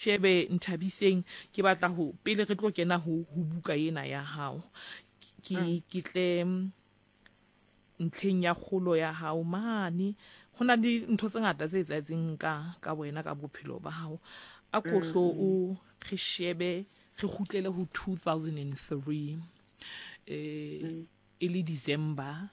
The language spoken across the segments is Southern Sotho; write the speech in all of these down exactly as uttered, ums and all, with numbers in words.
Shebe Nthabiseng, ke batla ho pele re tlo kena ho ho buka ena ya hao, ke Mm. ke tle mm, ntlheng ya kgolo ya hao mane. Ho na le ntho tse ngata tse etsahetseng ka ka wena ka bophelo ba hao. A ko Mm, hlo mm. o re shebe, re kgutlele ho two thousand and three, eh, Mm. e le December,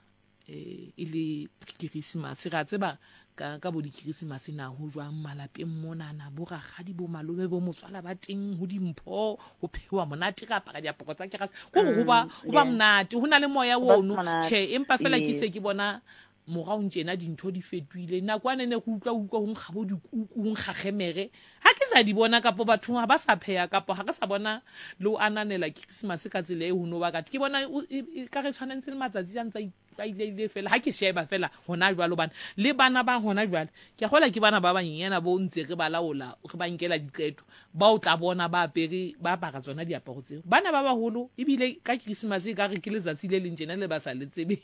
eh, e le Christmas. Re a tseba ka, ka bo di-Christmas na ho jwang malapeng monana, bo rakgadi, bo malome, bo motswala ba teng, ho dimpho, ho phewa monate, re apara diaparo tsa kerase. Ko re ho ba, Mm, ho ba yeah. monate, ho na le moya Ho ba ono. monate. Tjhe, empa fela ke Ee. se ke bona morao tjena dintho di fetohile. Nako ane ne re utlwa, utlwa ho nkga bo dikuku, ho nkga kgemere. Ha ke sa di bona, kapo batho ha ba sa pheha, kapo ha re sa bona le ho ananela Christmas ka tsela e ho no ba ka. Ke bona o, e, e, ka re tshwanetse le matsatsi a ntse a itlwaelehile fela. Ha ke sheba fela hona jwale, hobane le bana ba hona jwale, ke a kgolwa ke bana ba banyenyana bo ntse re ba laola, re ba nkela diqeto, ba o tla bona ba apere, ba apara tsona diaparo tseo. Bana ba baholo ebile ka Christmas e ka re ke letsatsi le leng tjena le ba sa le tsebe.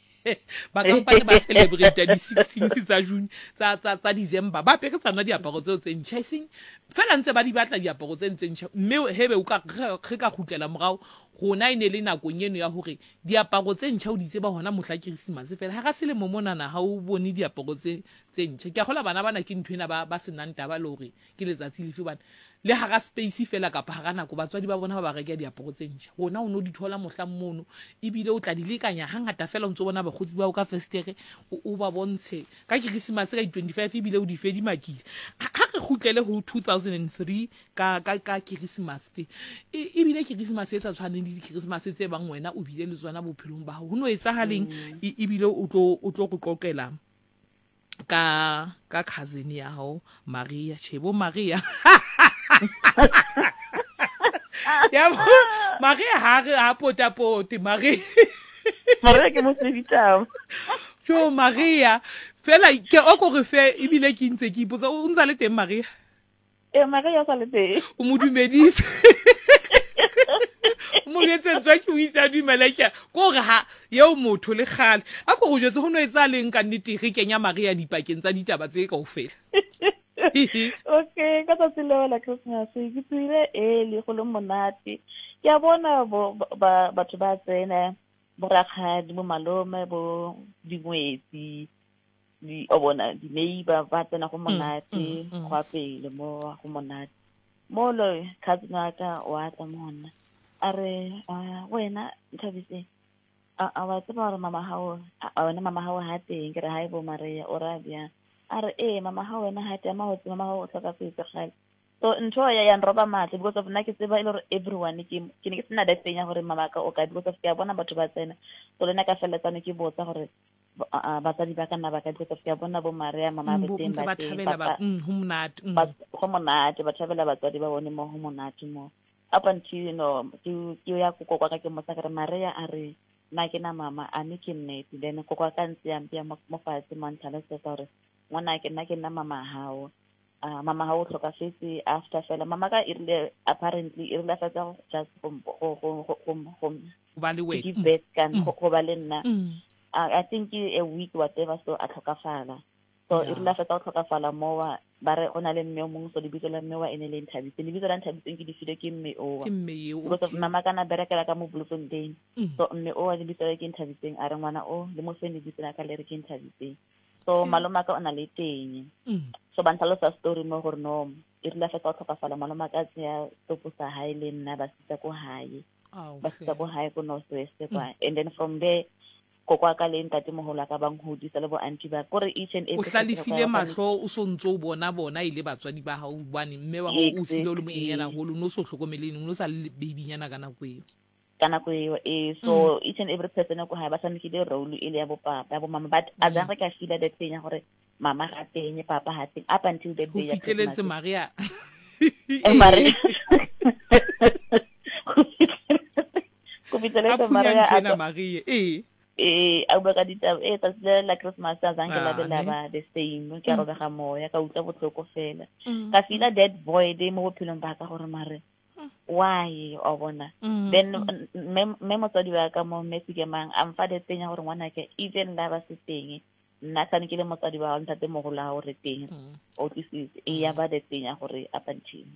Ba kampane ba celebrate di sixteenth tsa June, tsa, tsa, tsa December, ba apere tsona diaparo tseo tse ntjha, eseng fela ntse ba di batla diaparo tse tse ntjha. Mme hebe o ka re, re ka kgutlela morao, rona e ne le nakong eno ya hore diaparo tse ntjha o di tseba hona mohla Christmas fela. Ha ra selemo monana ha o bone diaparo tse, tse ntjha. Ke a kgolwa bana bana ke ntho ena ba, ba senang taba le hore ke letsatsi lefe, hobane le hara space fela kapa hara nako batswadi ba bona ba ba reka diaparo tse ntjha. Rona o no di thola mohlang mono, ebile o tla di lekanya hangata fela o ntso bona bakgotsi ba hao ka festere, o, o ba bontshe ka Christmas ka di twenty-five ebile o di fe di makile. Ha, ha re kgutlele ho two thousand and three ka, ka, ka Christmas te. E, ebile Christmas e sa tshwaneng le di-Christmas tse bang wena o bile le tsona bophelong ba hao. Ho no etsahaleng? Mm. E, ebile o tlo, o tlo go qoqela ka, ka cousin ya hao Maria. Tjhe, bo Maria. Ya bo, Maria ha re ha potapote, Maria. Maria ke mosebitaba. Jo, Maria. Fela ke o ko re fe ebile ke ntse ke ipotsa, o ntsa le teng Maria? Eh, Maria o sa le teng. O mo dumedise. O mo jwetse ntswa ke o itse a dumela ke a, ko hore ha eo motho le kgale. A ko go jwetse ho no etsahaleng ka nnete re kenya Maria dipakeng tsa ditaba tse kaofela. Okay, ka tsatsi leo la Christmas ke tswile early go le monate. Ke a bona bo, ba, batho ba tsena, bo rakgadi, bo malome, bo dingwetsi, di, o bona di-neighbor ba tsena go Mm, monate, mm, mm. go a pele mo go monate. Mo lo cousin wa ka wa tla mo ho nna. A re, ah, wena Nthabiseng, a, a wa tseba hore mama hao, a, a wena mama hao ha teng? Ke re, hae bo Maria, o ra bjang? A re, ee, mama hao wena ha teng, ama ho tseba mama hao o hlokafetse kgale. So ntho ya ya nroba matla because of nna ke tseba e le hore everyone ke, ke ne ke sena that thing ya hore mama ka o kae, because of ke a bona batho ba tsena. So le nna ka felletsane ke botsa hore ba, a, a, batswadi ba ka nna ba kae, because of ke a bona bo Maria, mama Mm, ba bo teng, ntse ba ba teng, thabela ba, papa, mm, ho monate, mm. ba, go monate, ba thabela batswadi ba bone mo ho monate mo. Up until, you know, ke, ke ya ko kokwa ka ke mmotsa ke re, Maria a re, nna ke na mama, a mme ke nnete. Then kokwa ka ntse ya mpea mo, mo fatshe mo a ntlhalosetsa hore, ngwana ke nna ke nna mama hao. Ah, mama hao o hlokafetse after fela. Mama ka e rile, apparently, e rile a fetsa go just go, go, go, go, go, go, Ho ba le to wena. give Mm. birth ka, Mm. go, go ba le nna. Mm. Ah, I think a week whatever, so a hlokafala. So e rile Yeah. a fetsa go hlokafala mowa, ba re go na le mme o mongwe, so lebitso la mme wa e ne le Nthabiseng. Lebitso la Nthabiseng ke le filwe ke mme owa. Ke mme eo, Because of okay. mama ka na berekela ka mo Bloemfontein. Mm. So mme owa lebitso la ke Nthabiseng, a re ngwana o le mo fe lebitso la ka le re ke Nthabiseng. So Okay. malome a ka o na le teng. Mm. So ba ntlhalosa story mo gore no, e rile a fetsa go tlhokafala, malome a ka tseya topo sa hae le nna ba sitsa ko hae. Ao, Ba sitsa hle. ko hae ko North West Mm. kwa. And then from there, koko wa ka le ntatemoholo wa ka ba nhodisa le bo auntie ba. Kore each and O every person hlalefile ka ba mahlo, o so ntso o bona bona e le batswadi ba hao, hobane mme wa hao o siile o le monyenyana Exactly. haholo, o no so hlokomele eng, o no sa le babynyana ka nako eo. Ka nako eo, eh, Mm. so each and every person ko hae ba tshamekile role e le ya bo papa, ya bo mama, but a Mm. jang re ka feel that thing ya gore mama ga teng, papa ha teng, up until that Ho day ya fihleletse Christmas. Maria. Eh, Maria. Go fihleletse A phunya Maria ntho a ena, tlo Maria. Eh. Eh, a bua ka ditaba, eh, tsatsi le la Christmas a zange la be Ah, la ne? ba the same, ke a Mm. robega moya, ka utlwa botlhoko fela. Mm. Ka feel that void mo bophelong ba ka gore mare Mm. why, o bona. Mm, Then mm. mme, mme motswadi wa ka mo, mme Sekemang, a mfa that thing ya gore ngwanake, even la ba se teng, nna sane ke le motswadi wa hao, ntatemoholo wa hao re teng, Mm. o tlisitse, e ya ba that thing ya gore up until.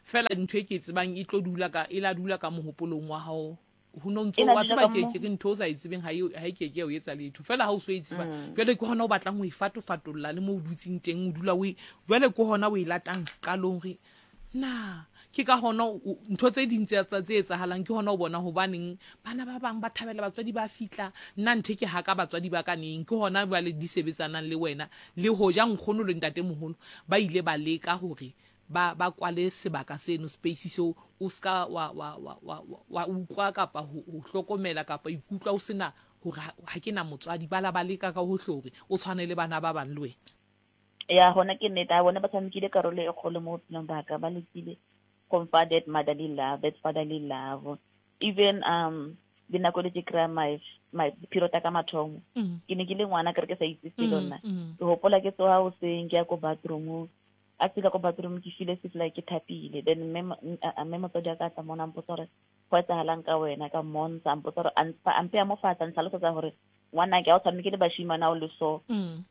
Fela ntho e ke e tsebang e tlo dula ka e la dula ka mohopolong wa hao ho no ntso E la wa dula tseba ka ke mo ke re ntho o sa e tsebeng ha e ha e ke ke ya o etsa letho fela ha o so e tseba mm. jwale ke hona o batlang ho e fatofatolla le mo o dutseng teng o dula o e jwale ke hona o e latang qalong re na ke ka hona o- ntho tse ding tse tsa- tse etsahalang ke hona o bona hobaneng bana ba bang ba thabela batswadi ba fihla nna nthe ke haka batswadi ba ka neng ke hona jwale di sebetsanang le wena le hoja nkgono le ntatemoholo ba ile ba leka hore ba ba kwale sebaka seno space seo o ska wa wa wa wa wa utlwa kapa ho ho hlokomela kapa ikutlwa o sena hore ha ha ke na motswadi ba la ba leka ka hohle hore o tshwane le bana ba bang le wena. Ya gona ke nnete a bone ba tshamekile karolo e kgolo mo bophelong ba ka ba lekile go mfa that motherly love that fatherly love even um dinako le ke kry-a my my period ya ka mathomo Mm. ke ne ke le ngwana kere ke sa itse selo Mm, nna mm. ke gopola ke tsoga goseng ke ya ko bathroom a fika ko bathroom ke file se like ke thapile then mme mo- n- a- a- mme motswadi wa ka a tla mona a mpotsa gore go etsagalang ka wena ka mmontsha a mpotsa gore a mpa- a mpeya mo fatshe a ntlhalosetsa gore ngwanake ga o tshameke le bashimane a o le so Mm.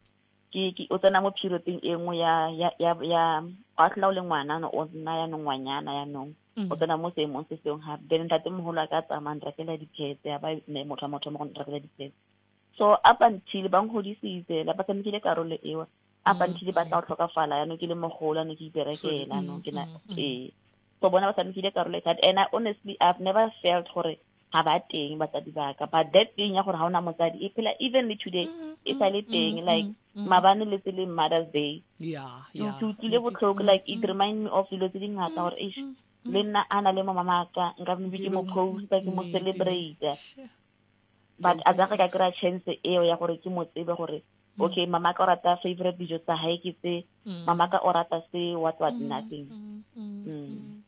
ke ke o tsena mo periodeng e nngwe ya ya ya ya ga tlhola o le ngwana no o nna yaanong ngwanyana yaanong Mm. o tsena mo seemong se sengwe gape then ntatemoholo a ka tsamaya nrekela di-pads ya ba ne motho wa motho mo go nrekela di-pads so up until ba ngodisitse la ba tshamekile karolo eo up Mm, until ba tla go tlhokafala yaanong ke le mogolo yaanong ke Sorry. iperekela yaanong Mm, ke na mm, mm. ee so bona ba tshamekile karolo e thata and I honestly I've never felt gore ga ba teng batsadi ba ka but that thing ya gore ga ona motsadi e phela even le today Mm, e sa le mm, teng mm, like mm, mm. maabane le tse le Mother's Day Yeah, ke yeah. ke utlwile botlhoko Mm, like it mm, remind me of dilo tse di ngata mm, gore eish mm, le mm. nna a na le mo mamaka nka maybe Ke ke mo be posta ke mo nnete ne. celebrate She, ke a but a ka ka utlwisisa. kry-a chance eo ya gore ke mo tsebe gore Mm, okay mama ka o rata favorite dijo tsa hae ke tse mm. mama ka o rata se what what Mm, nothing mm, mm, mm. mm.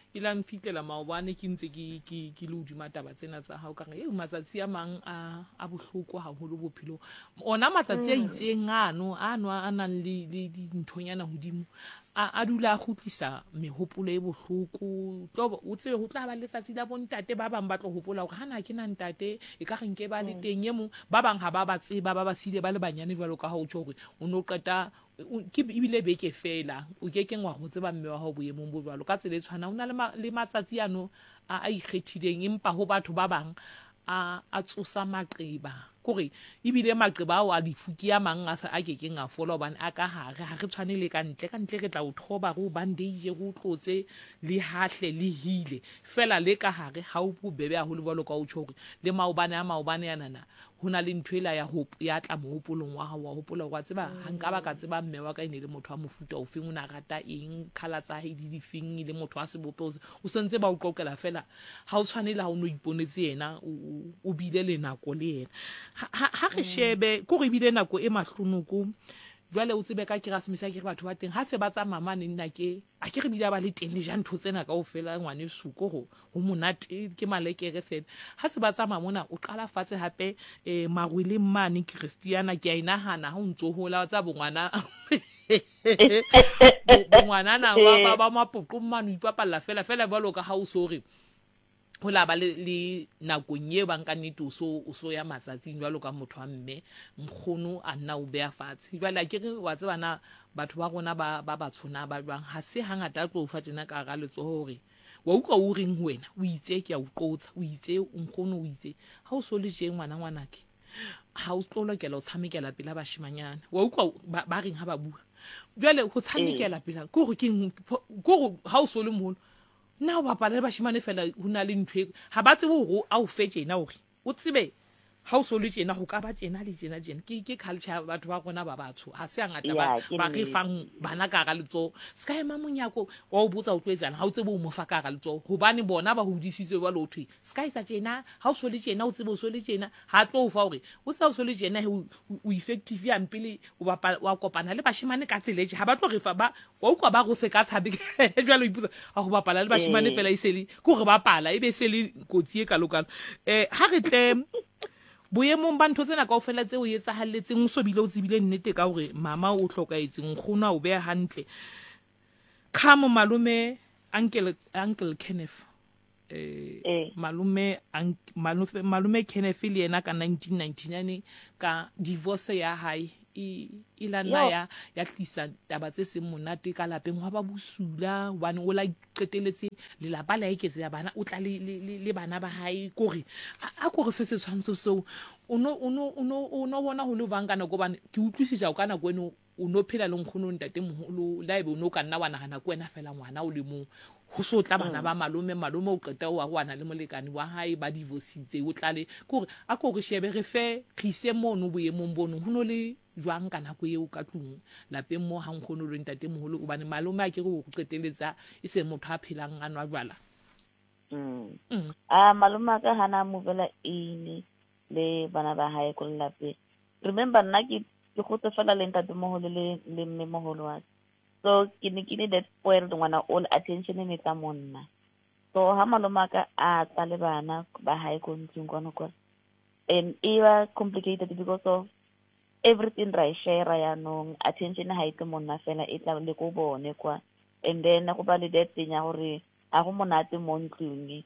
E la nfitlela maobane ke ntse ke ke ke le hodima taba tsena tsa hao ka re eo matsatsi a mang a a bohloko haholo bophelong ona matsatsi a Mm. itseng ano ano a nang le le dinthonyana hodimo a a dula a kgutlisa mehopolo e bohloko tlo o tsebe ho tla ba letsatsi la bontate ba bang ba tlo hopola hore hana ke na ntate e ka re nke ba le Mm. teng e mong ba bang ha ba ba tseba ba ba siile ba le banyane jwalo ka ha o tjho hore o no qeta o- ke ebile beke fela o ke keng wa go tseba mme wa hao boemong bo jwalo ka tsela e tshwanang o na le ma- le matsatsi ano a a ikgethileng empa ho batho ba bang a a tsosa maqeba kore ebile maqeba ao a lefu ke a mang a sa a kekeng a fola hobane a ka hare ha re tshwane le ka ntle ka ntle re tla o thoba re o bandage re o tlotse le hahle le hile fela le ka hare ha o bobebe haholo jwalo ka o tjho hore le maobane a maobane anana ho na le ntho ela ya hop ya tla mohopolong wa hao wa hopola hore wa tseba ha nka ba ka tseba mme wa ka e ne le motho wa mofuta ofeng o ne a rata eng colour tsa hae di difeng e le motho wa sebopeho se o sentse ba o qoqela fela ha o tshwane le ha o no iponetse yena o o- o bile le nako le yena ha ha- ha re shebe ke hore ebile nako e mahlonoko jwale o tsebe ka Keresemese a ke re batho ba teng ha se ba tsamaya mane nna ke a ke re bile ba le teng le ja ntho tsena kaofela ngwaneso ko ho ho monate ke malekere fela ha se ba tsamaya mona o qala fatshe hape eh marweleng mane Christiana ke a e nahana ha o ntso hola wa tseba bongwana bo- bongwanana ba ba ba mapoqong mane o ipapalla fela fela jwalo ka ha o so re ho la ba le, le nakong e bang ka nnete o so o so ya matsatsing jwalo ka motho wa mme nkgono a nna o beha fatshe jwale a ke re wa tseba na batho ba rona ba ba batsho na ba jwang ha se hangata a tlo o fa tjena ka hara letsoho hore wa utlwa o reng ho wena o itse ke a o qotsa o itse nkgono o itse ha o so le tje ngwana ngwanake ha o tlo lokela ho tshamekela pela bashimanyana wa utlwa ba, ba reng ha ba bua jwale ho tshamekela pela ke hore ke eng ke hore ha o so le moholo nna o bapala le bashimane fela ho na le ntho e ha ba tsebe hore a o fe tjena hore o tsebe ha o so le tjena ho ka ba tjena le tjena tjena ke ke culture ya batho ba rona ba batsho ha se hangata ba Ya, ke ba re nnete. fang bana ka hara letsoho se ka ema monyako wa o botsa o tlo etsang ha o tsebe o mo fa ka hara letsoho hobane bona ba hodisitswe jwalo ho thwe se ka etsa tjena ha o so le tjena o tsebe o so le tjena ha tlo o fa hore o tseba o so le tjena he o o effective hampe le o bapala wa kopana le bashimane ka tsela e tje ha ba tlo re fa ba wa utlwa ba re o se ka tshabe jwale o ipotsa ha ho bapala le bashimane Ee. fela e se le ke hore bapala ebe se le kotsi e kalokalo eh ha re tle boemong ba ntho tsena kaofela tse o etsahalletseng o so bile o tsebile nnete ka hore mama o hlokahetse nkgono a o beha hantle khamo malome uncle uncle Kenneth eh Ee. malome ank- malome malome Kenneth le yena ka nineteen ninety-nine ka divorce ya hae e e la nna ya ya tlisa taba tse seng monate ka lapeng, hwa ba bosula hobane o la qeteletse lelapa la eketseha bana, o tla le le le le bana ba hae. Kore a a ko re fe setshwantsho seo, o no o no o no o no bona ho le jwang ka nako, hobane ke utlwisisa ka nako eno o no phela le nkgono ntatemoholo, le haebe o no ka nna wa nahana ke wena fela ngwana o le mong, ho so tla bana ba malome, malome o qeta o arohana le molekane wa hae, ba divorcitse, o tlale ke hore a ko re shebe re fe re ise mono boemong bono, ho no le jwang ka nako eo ka tlung lapeng mo ha nkgono le ntatemoholo, hobane malome a ke re o qeteletsa e se motho a phelang a nwa jwala. Mm. Mm. A malome a ka hana movela in le bana ba hae ko lelapeng. Remember nna ke ke gotse fela le ntatemoholo le le mme moholo wa ka. So ke ne ke le that spoiled ngwana, all attention e ne tla mo nna. So ha malome a ka a tla le bana ba hae ko ntlong kwano kwa, and e ba complicated because of everything ra e share yanong, attention ha e tle mo nna fela, e tla le ko bone kwa. And then go ba le that thing ya gore ha go monate mo ntlong,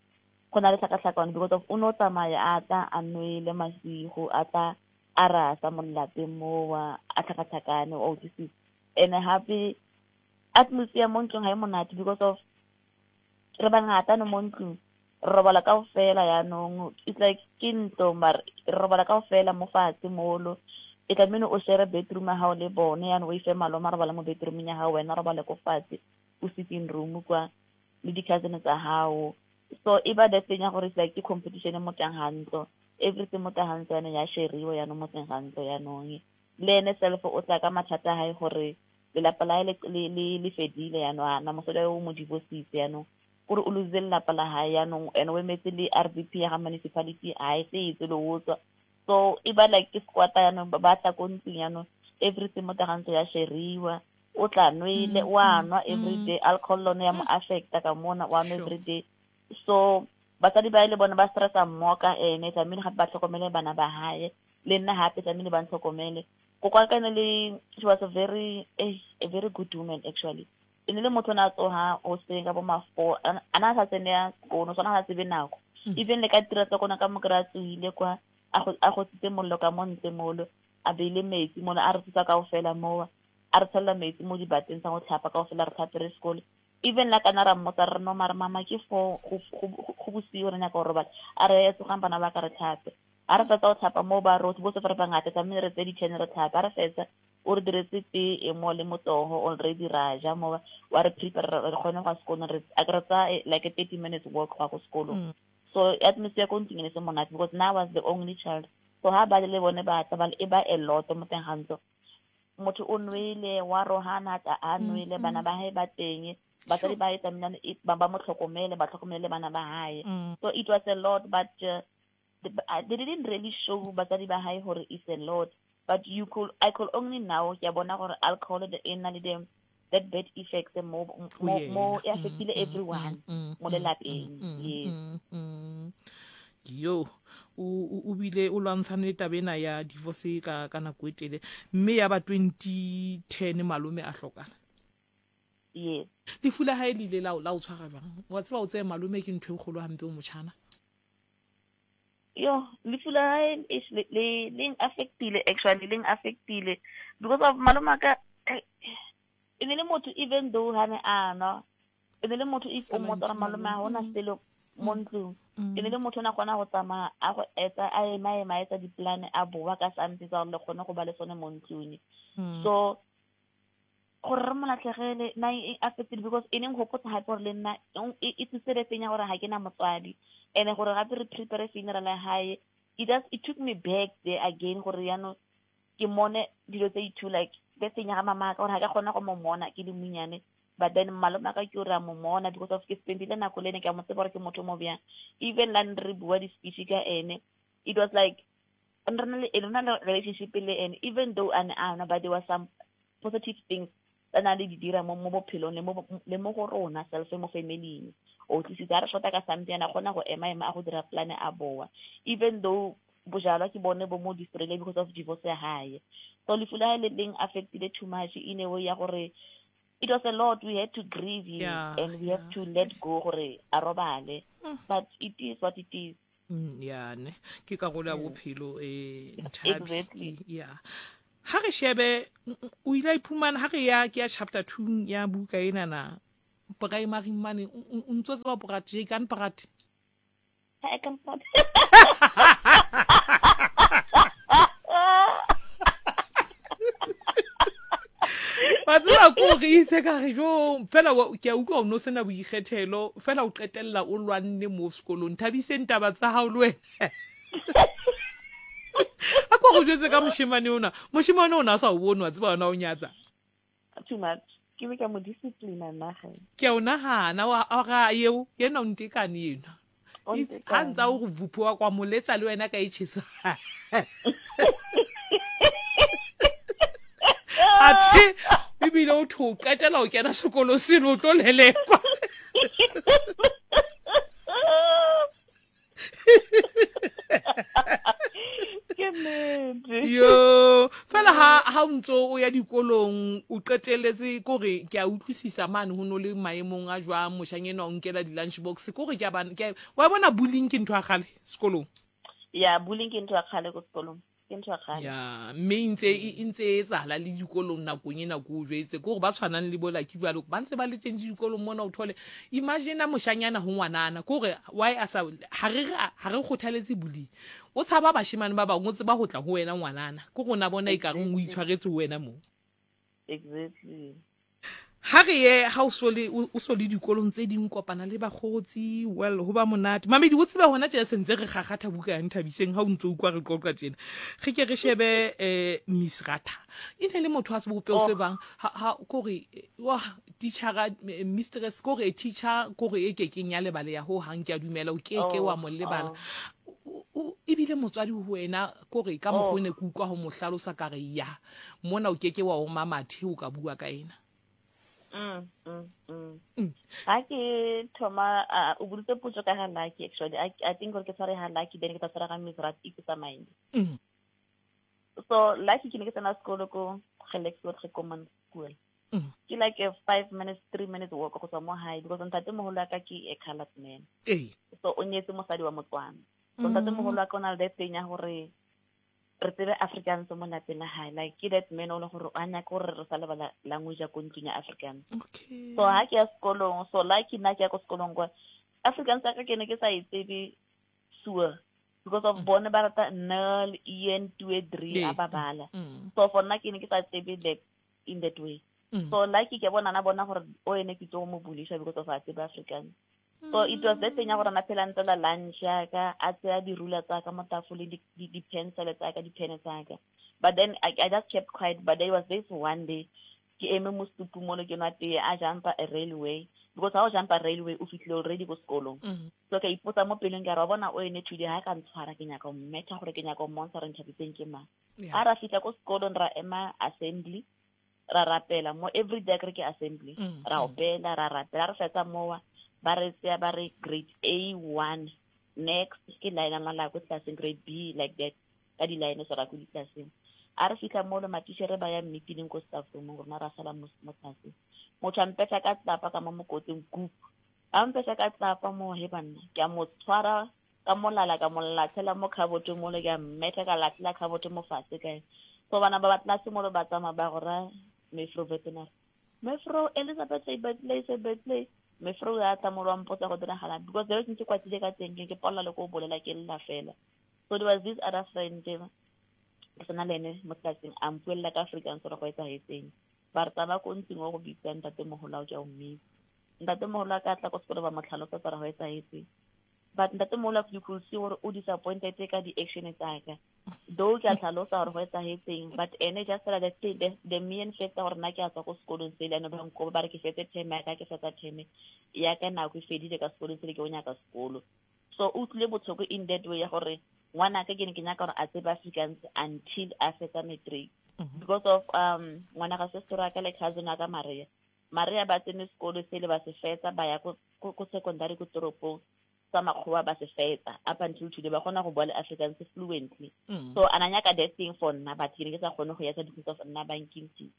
go na le tlhakatlhakano because of o no tsamaya a tla a nwele masigo, a tla a rasa mo lelapeng mowa, a tlhakatlhakane, o utlwisisa. And hape atmosphere mo ntlong ha e monate because of re bangata no mo ntlong, re robala kaofela yanong, it's like ke ntlo mare re robala kaofela mo fatshe molo. E tlamehile o share bedroom ya hao le bone yanong, o ife malome a robala mo bedroomeng ya hao, wena robale ko fatshe o sitting room kwa le di-cousin tsa hao. So e ba that thing ya gore it's like ke competition mo teng ga ntlo, everything mo teng ga ntlo yanong ya sheriwa yanong mo teng ga ntlo yanong. Le ene self o tla ka mathata a hae gore lelapa la hae le le le le fedile yanong, a na mosadi o mo divorcitse yanong, kore o lositse lelapa la hae yanong, and o emetse le R D P ya ga municipality ha e se etse le o tswa. So e ba like ke squatter yanong, ba ba tla ko ntlong yanong, everything mo teng ga ntlo ya sheriwa, o tla nwele, Mm, wa mm, nwa every mm. day, alcohol lone ya mo affecta ka mona, wa nwa Sure. every day. So batsadi ba le bona ba stressa mmoho ka ene, tlamehile gape ba tlhokomele bana ba hae, le nna hape tlamehile ba ntlhokomele. Koko wa ka ne le, she was a very, eh, a very good woman actually. E ne le motho o ne a tsoha hoseng ka bo ma four, a a na sa tsene ya sekolo, sona ha tsebe nako. Mm. Even le ka tiro tsa kona ka mo kry-a tsohile kwa, a go a gotsitse mollo ka mo ntle molo, a beile metsi molo, a re thusa kaofela moo, a re tshella metsi mo dibateng tsa go tlhapa kaofela, re tlhape re sekolo. Even la kana ra mmotsa re no mare mama ke four, go go go bosigo re nyaka go robala, a re tsogang bana ba ka re tlhape. Ha re fetsa go tlhapa mo ba rotlhe botlhe fa re bangata tlamehile re tseye di-ten re tlhape. Ha re fetsa o re diretse tee e mo le motoho already ra ja mo, wa re prepare re kgone go ya sekolong, re a ke re tsaya like a thirty minutes walk go ya ko sekolong. Mm. So atmosphere ko ntlong e ne se monate because now I was the only child. So ha ba le bone ba tla ba e ba a lot mo teng ga ntlo. Motho o nwele, wa rohana a a nwele, bana ba hae ba teng, batsadi ba hae tlamehile e- ba ba mo tlhokomele, ba tlhokomele bana ba hae. Mm. So it was a lot, but uh, the, uh, they didn't really show batsadi ba hae hore it's a lot. But you could, I could only now ke a bona gore alcohol e na le the that bad effects mo Ho mo yena. mo e Mm, affectile mm, everyone mm, mo mm, lelapeng. mm, Yes. mm, mm. Yo, o o o bile o lwantshane le taba ena ya divorce ka ka nako e telele, mme ya ba twenty ten malome a hlokana. Yes. Lefu la hae le ile la o la o tshwara jwang? Wa tseba o tseye malome ke ntho e kgolo hampe o motjhana. Yo, lefu la hae ish, le le le affectile actually, le affectile because of malome a ka e ne le motho even though ha ne a nwa, e ne le motho if o mmotsa gore malome ha hona selo mo ntlong, e ne le motho o ne a kgona go tsamaya a go etsa a ema ema a etsa di-plan a boa ka something tsa gore le kgone go ba le sone mo ntlong. So gore re mo latlhegele na e affected because e neng gopotsa gape gore le nna e e tsise le teng ya gore ga ke na motswadi, and gore gape re prepare funeral ya hae, it just it took me back there again gore yaanong ke mone dilo tse di two like the thing ya ga mama ka gore ga ka kgona go mo mona ke le monyane, but then malome a ka ke ore a mo mona because of ke spendile nako le ene, ke a mo tseba gore ke motho mo bjang. Even la ne re bua di-speech ka ene, it was like re na le re na le relationship le ene, even though a ne a nwa, but there was some positive things tsa na le di dira mo mo bophelong le mo le mo go rona self mo family-ing. O tlisitse ha re shota ka something, a kgona go ema ema a go dira plan a boa, even though bojalwa ke bone bo mo destroyile because of divorce ya hae. So lefu la hae le leng affected too much in a way ya gore it was a lot, we had to grieve him Yeah, and we have yeah. to let go gore a robale, but it is what it is. Mm, ya ne ke karolo ya bophelo eh Nthabi. Exactly. Ke- ya Ha re shebe o ile a iphumana ha re ya ke ya chapter two ya buka ena na primary mane o ntso tseba Praat je kan Praat. Ha kan Praat. Wa tseba ko re itse ka re jo fela ke a utlwa o no sena boikgethelo fela o qetella o lwanne mo sekolong. Thabiseng taba tsa hao le wena. A ko go jwetse ka moshemane ona. Moshemane ona a sa o bone wa tseba ona o nyatsa. Too much. Ke be ka mo discipline nna ge. Ke a o nahana wa ga eo yena o ntekane yena. Ha ntsa o go vuphuwa kwa moletsa le wena ka e tjhesa. Athe ebile o tho qetela o kena sekolo seno o tlo lelekwa. Ke nnete. Yo, fela ha ha o ntso o ya dikolong o qetelletse kore ke a utlwisisa mane ho no le maemong a jwang moshanyana o nkela di-lunch box kore ke a bana ke wa bona bullying ke ntho ya kgale sekolong. Ya bullying ke ntho ya kgale ko sekolong. Ke ntho ya kgale. Ya mme e ntse e ntse e etsahala le dikolong nakong ena ko o jwetse kore ba tshwanang le bo Lucky jwalo ba ntse ba le teng dikolong mona o thole imagine moshanyana ho ngwanana kore why a sa ha re ha re kgothaletse bullying o tshaba bashemane ba bang o tseba ho tla ho wena ngwanana ke rona bona e ka reng o itshwaretse ho wena mo. Exactly. Ha re ye ha o so le o so le dikolong tse ding kopana le bakgotsi well ho ba monate mamedi o tsebe hona tje sentse re kgakgatha buka ya Nthabiseng ha o ntso utlwa re qoqa tjena re ke re shebe eh Miss Ratha e ne le motho a sebopeho se bang ha ha kore wa teacher mistress kore teacher kore e ke keng ya lebale ya ho hang ke a dumela o ke ke wa mo lebala ebile motswadi ho wena kore ka mokgwa ne ke utlwa ho mo hlalosa ka re ya mona o ke ke wa o mamathe o ka bua ka ena. Mm, mm, mm. Ha ke thoma o boditse potso ka ga Lucky actually. I, I think gore ke tshware ga Lucky then ke tla tshwara ga Miss Rat e ke tsamaile. Mm. So Lucky ke ne ke tsena sekolo ko Gelexwood Common School. Mm. Ke like a five minutes, three minutes walk go tswa mo hae because ntate moholo wa ka ke a colored man. Ee. So o nyetse mosadi wa Motswana. So ntate moholo wa ka o na le that thing ya gore re tsebe Afrikaans mo lapeng la hae like ke that man o le gore a nyaka gore re sa lebala language ya ko ntlong ya Afrikaans. Okay. So ha ke ya sekolong so like nna ke ya ko sekolong kwa Afrikaans ya ka ke ne ke sa e tsebe sure because of bone ba rata nul een twee drie a ba bala. So for nna ke ne ke sa tsebe that in that way. Mm. So like ke bona na bona gore o ene ke tlo mo bulisha because of a tsebe Afrikaans. So it was that thing ya gore na phela ntse la lunch ya ka a tseya dirula tsa ka mo tafoleng di di pencil tsa ka di pen tsa ka. But then I, I just kept quiet. But there was this one day ke eme mo stupu mo le ke nwa tee a jumpa a railway because ha o jumpa railway o fihlile already ko sekolong. Mm. So ka ipotsa mo pelong ka re wa bona o ene today ha ka ntshwara ke nyaka ho mmetha gore ke nyaka ho mmontsha gore Nthabiseng ke mang. Yeah. Ha ra fihla ko sekolong ra ema assembly ra rapela mo every day ke re ke assembly Mm, ra mm. opela ra rapela re fetsa mowa ba re tseya ba re grade A one next ke line la la ko tlaseng grade B like that ka di line so ra ko ditlaseng a re fihla mo le matitjhere ba ya meeting ko staff room rona ra sala mo mo tlase motho a mpetha ka tlapa ka mo mokotseng group a mpetha ka tlapa mo he banna ke a mo tshwara ka molala ka mo latlhela mo khabotong mo le ke a mmetha ka latlhela khaboto mo fatshe kae so bana ba ba tlase mo le ba tsamaya ba go ra Mefro veterinary Mefro Elizabeth Betley se Betley Mefro ya tla mo lwa mpotsa go diragala because there ntse kwatile ka teng ke polla le ko bolela ke lla fela. So there was this other friend ke tsena le ene mo tlaseng a mpuella ka Afrikaans gore go etsahetseng ba re tsamaya ko ntlong o go bitsa ntatemoholo wa ke a o mmitsa ntatemoholo a ka tla ko sekolo ba mo tlhalosetsa gore go etsahetseng but ntatemoholo you could see gore o disappointed ka di-action tsa ka though ke a tlhalosa gore go etsahetseng but ene just fela the, the, the mere fact gore nna ke a tswa ko sekolong sele ane ba nkoba ba re ke fetse term ya ka ke fetsa term ya ka nako e fedile ka sekolong sele ke o nyaka sekolo so o utlwile botlhoko in that way ya gore ngwanaka ke ne ke nyaka gore a tsebe Afrikaans until a fetsa matric Mm-hmm. because of um ngwana ga sister wa ka le cousin wa ka Maria Maria ba tsene sekolo sele ba se fetsa ba ya ko ko secondary ko toropong tsa makgowa ba se fetsa up until today ba kgona go bua le Afrikaans fluently. Mm. So ana nyaka that thing for nna but ke ne ke sa kgone go etsa because of nna ba nkintshitse.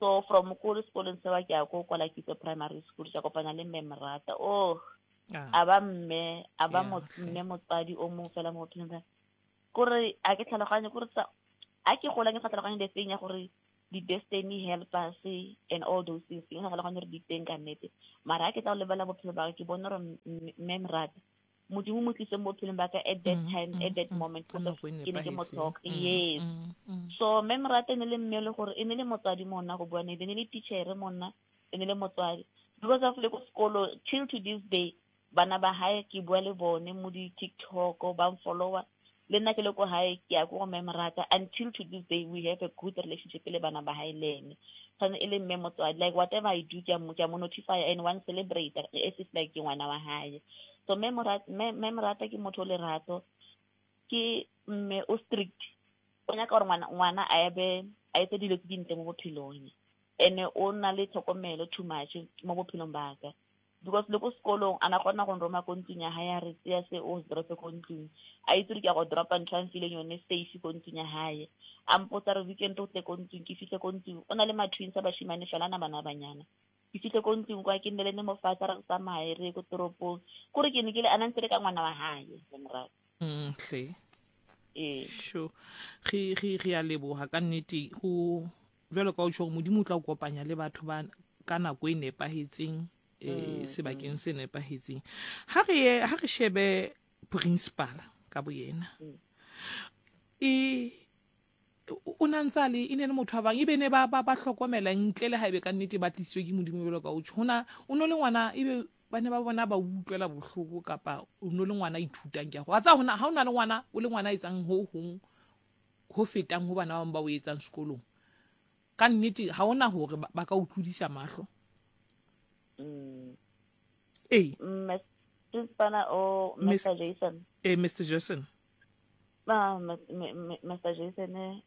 So from ko sekolong sewa ke ya ko kwa Kitso Primary School ka kopana le mme Mrata oh Ah. a ba mme a ba Yeah, mme motsadi o mong fela mo bophelong ba kore a ke tlhaloganye kore tsa A ke gola ke sa tlhaloganye the thing ya gore di-destiny helpers and all those things, ke sa tlhaloganye gore di teng ka nnete. Mara ha ke tla go lebelela bophelo ba ka, ke bone gore mme Morata, Modimo mo tlise mo bophelong ba ka at that time, at that moment, because ke ne ke mo tlhoka. Yes. So mme Morata e ne le mme le gore e ne le motswadi mo nna, go bua nnete, e ne le teacher mo nna, e ne le motswadi. Because of le ko sekolo, till to this day, bana ba hae ke bua le bone mo di-TikTok, ba follower. Le nna ke le ko hae, ke ya ko go mme Morata. Until to this day, we have a good relationship le bana ba hae le ene. Tshwane e le mme motswadi, like whatever I do, ke a mo ke a mo notify and one celebrate as if like ke ngwana wa hae. So mme Morata, mme Morata ke motho o lerato, ke mme o strict. O nyaka gore ngwana ngwana a ebe a etse dilo tse dintle mo bophelong. Ene o na le tlhokomelo too much mo bophelong ba ka. Because le ko sekolong a na kgona go nroma ko ntlong ya hae, a re tseya se o se drope ko ntlong. A itse gore ke a go dropa ntho a mfileng yone safe ko ntlong ya hae. A mpotsa re weekend o tle ko ntlong, ke fihle ko ntlong. O na le ma-twins a bashimane fela, a na bana ba banyana. Ke fihle ko ntlong kwa, ke nne le ene mo fatshe, re tsamaye re ye ko toropong. Kore ke ne ke le a na ntse le ka ngwana wa hae, mme Morata. Mm, hle. Ee. Sure. Re re re a leboha ka nnete ho jwalo ka o tjho hore Modimo o tla o kopanya le batho ba ka nako e nepahetseng, eh sebakeng se nepahetseng. Ha re ye, ha re shebe principal ka boyena. E o na ntsa le e ne le motho wa bang ebe ne ba ba ba hlokomela ntle le haebe ka nnete ba tlisitswe ke Modimo jwalo ka o tjho. Hona o no le ngwana ebe ba ne ba bona ba utlwela bohloko kapa o no le ngwana a ithutang ke a go. Wa tseba hona ha o na le ngwana, o le ngwana a etsang ho hong ho fetang ho bana ba bang ba o etsang sekolong. Ka nnete ha hona hore ba, ba ka o tlodisa mahlo. Mm. Ee. Principal o Mister Mister Jason. Eh, Mister Jason. Ah, Mister Jason, eh.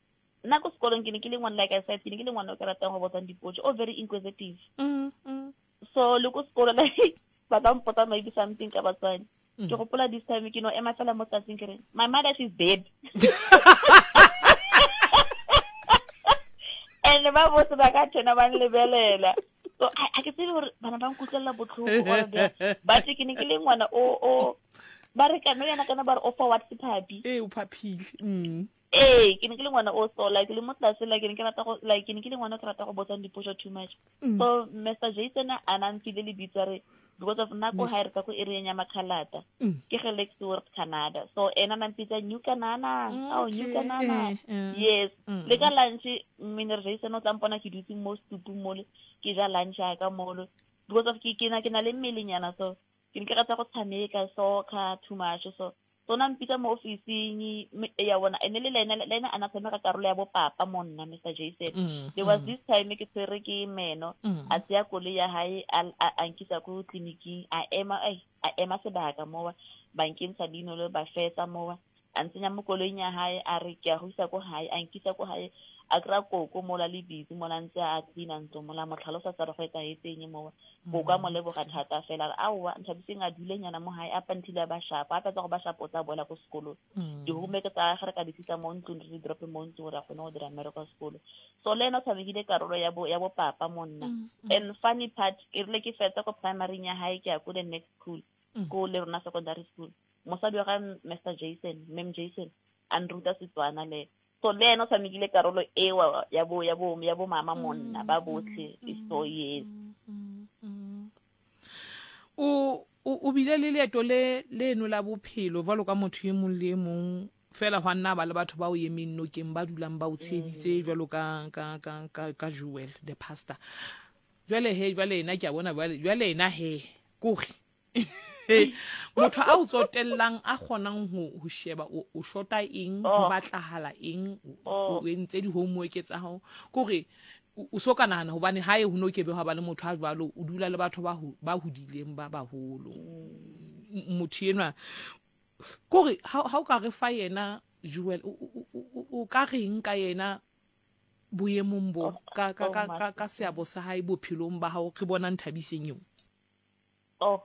Nna ko sekolong ke ne ke le ngwana, like I said, ke ne ke le ngwana o ke ratang go botsang dipotso, o very inquisitive. Mm, mm. So le ko sekolo, like ba ka mpotsa maybe something ka batswadi. Mm. Ke gopola this time ke no ema fela mo tsatsing ke re, my mother, she's dead. And ba botse ba ka tshena ba nlebelela. So a a ke tsebe gore bana ba nkutlwela botlhoko or bjang. But ke ne ke le ngwana o o ba re kana yana kana ba re o forward sephapi. Eh, o phaphile. Mm. Ee, ke ne ke le ngwana o so like le mo tlase, like ke ne ke rata go like ke ne ke le ngwana o ke rata go botsang dipotso too much. Mm. So Mister Jason a na mfile lebitso a re because of nna ko Miss- hae re ka ko area ya Makhalata. Mm. Ke ge Lexworth Canada. So ena na mpitsa New Canana. Oh, New Okay, Canana. eh, eh. Yes. Mm. Le ka lunch Mister Jason o tla mpona ke dutse mo stupung mole, ke ja lunch ya ka mole. Because of ke ke na ke na le mmelenyana, so ke ne ke rata go tshameka soccer too much, so so na mpitsa mo office-ing ya bona ene le ena le ena a na tshameka karolo ya bo papa mo nna Mister Jason. Mm, There was mm, this time ke tshwere ke meno, mm. a tseya koloi ya hae, a a a nkisa ko tleliniking, a ema ai a ema sebaka mowa, ba nkentsha leino le ba fetsa mowa, a ntsenya mo koloing ya hae, a re ke a go isa ko hae, a nkisa ko hae, a kry-a koko mola le busy mola ntse a clean-a ntlo mola, mo tlhalosa tsa re go etsahetseng mowa. Koko a mo leboga thata fela, a re aowa Nthabiseng a dulenyana mo hae up until a ba sharp, a fetsa go ba sharp o tla boela ko sekolong. Mm. Di-homework tsa gagwe re ka di tlisa mo ntlong, re di drope mo ntlong gore a kgone go dira mmereko wa sekolo. So le ena o tshamekile karolo ya bo ya bo papa mo nna. Mm, mm. And funny part, e rile ke fetsa ko primary ya hae, ke ya ko the next school, Mm. ko le rona secondary school, mosadi wa ga Mister Jason, Ma'am Jason, a nruta Setswana le. So le ena o tshamekile karolo eo ya bo ya bo ya bo mama mo nna ba botlhe. So yes. Mm, mm. O o o bile le leeto le leno la bophelo jwalo ka motho e mong le e mong fela, hwa nna ba le batho ba o emeng nokeng, ba dulang ba o tsheheditse jwalo ka ka ka ka ka Joel the pastor. Jwale he, jwale ena ke a bona, jwale jwale ena he kore motho a o tsotellang, a kgonang ho ho sheba o o shota eng, ho Oh. batlahala eng, o Oh. o entse di-homework tsa hao, kore o o so ka nahana hobane hae ho no ke be hwa ba le motho a jwalo, o dula le batho ba ho- ba hodileng ba baholo. M- motho enwa kore ha ha o ka re fa yena Joel, o o- o o ka reng ka yena boemong bo Oh, ka ka oh, ka ka, ka seabo sa hae bophelong ba hao, re bona Nthabiseng eo? Oh,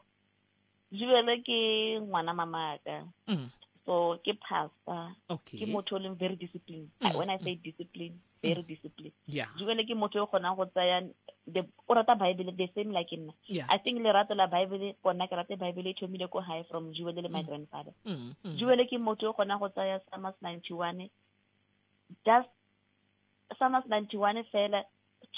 Joel ke ngwana mamaka. Mm. So ke pastor. Okay ke motho o leng very disciplined. Mm, When I say discipline, very disciplined. Yeah Joel ke motho o kgonang go tsaya the o rata Bible the same like nna. Yeah I think lerato la Bible ko nna ke rate Bible e thomile ko hae from Joel le my grandfather. mm, mm. Joel ke motho o kgonang go tsaya Psalms ninety-one just Psalms ninety-one fela,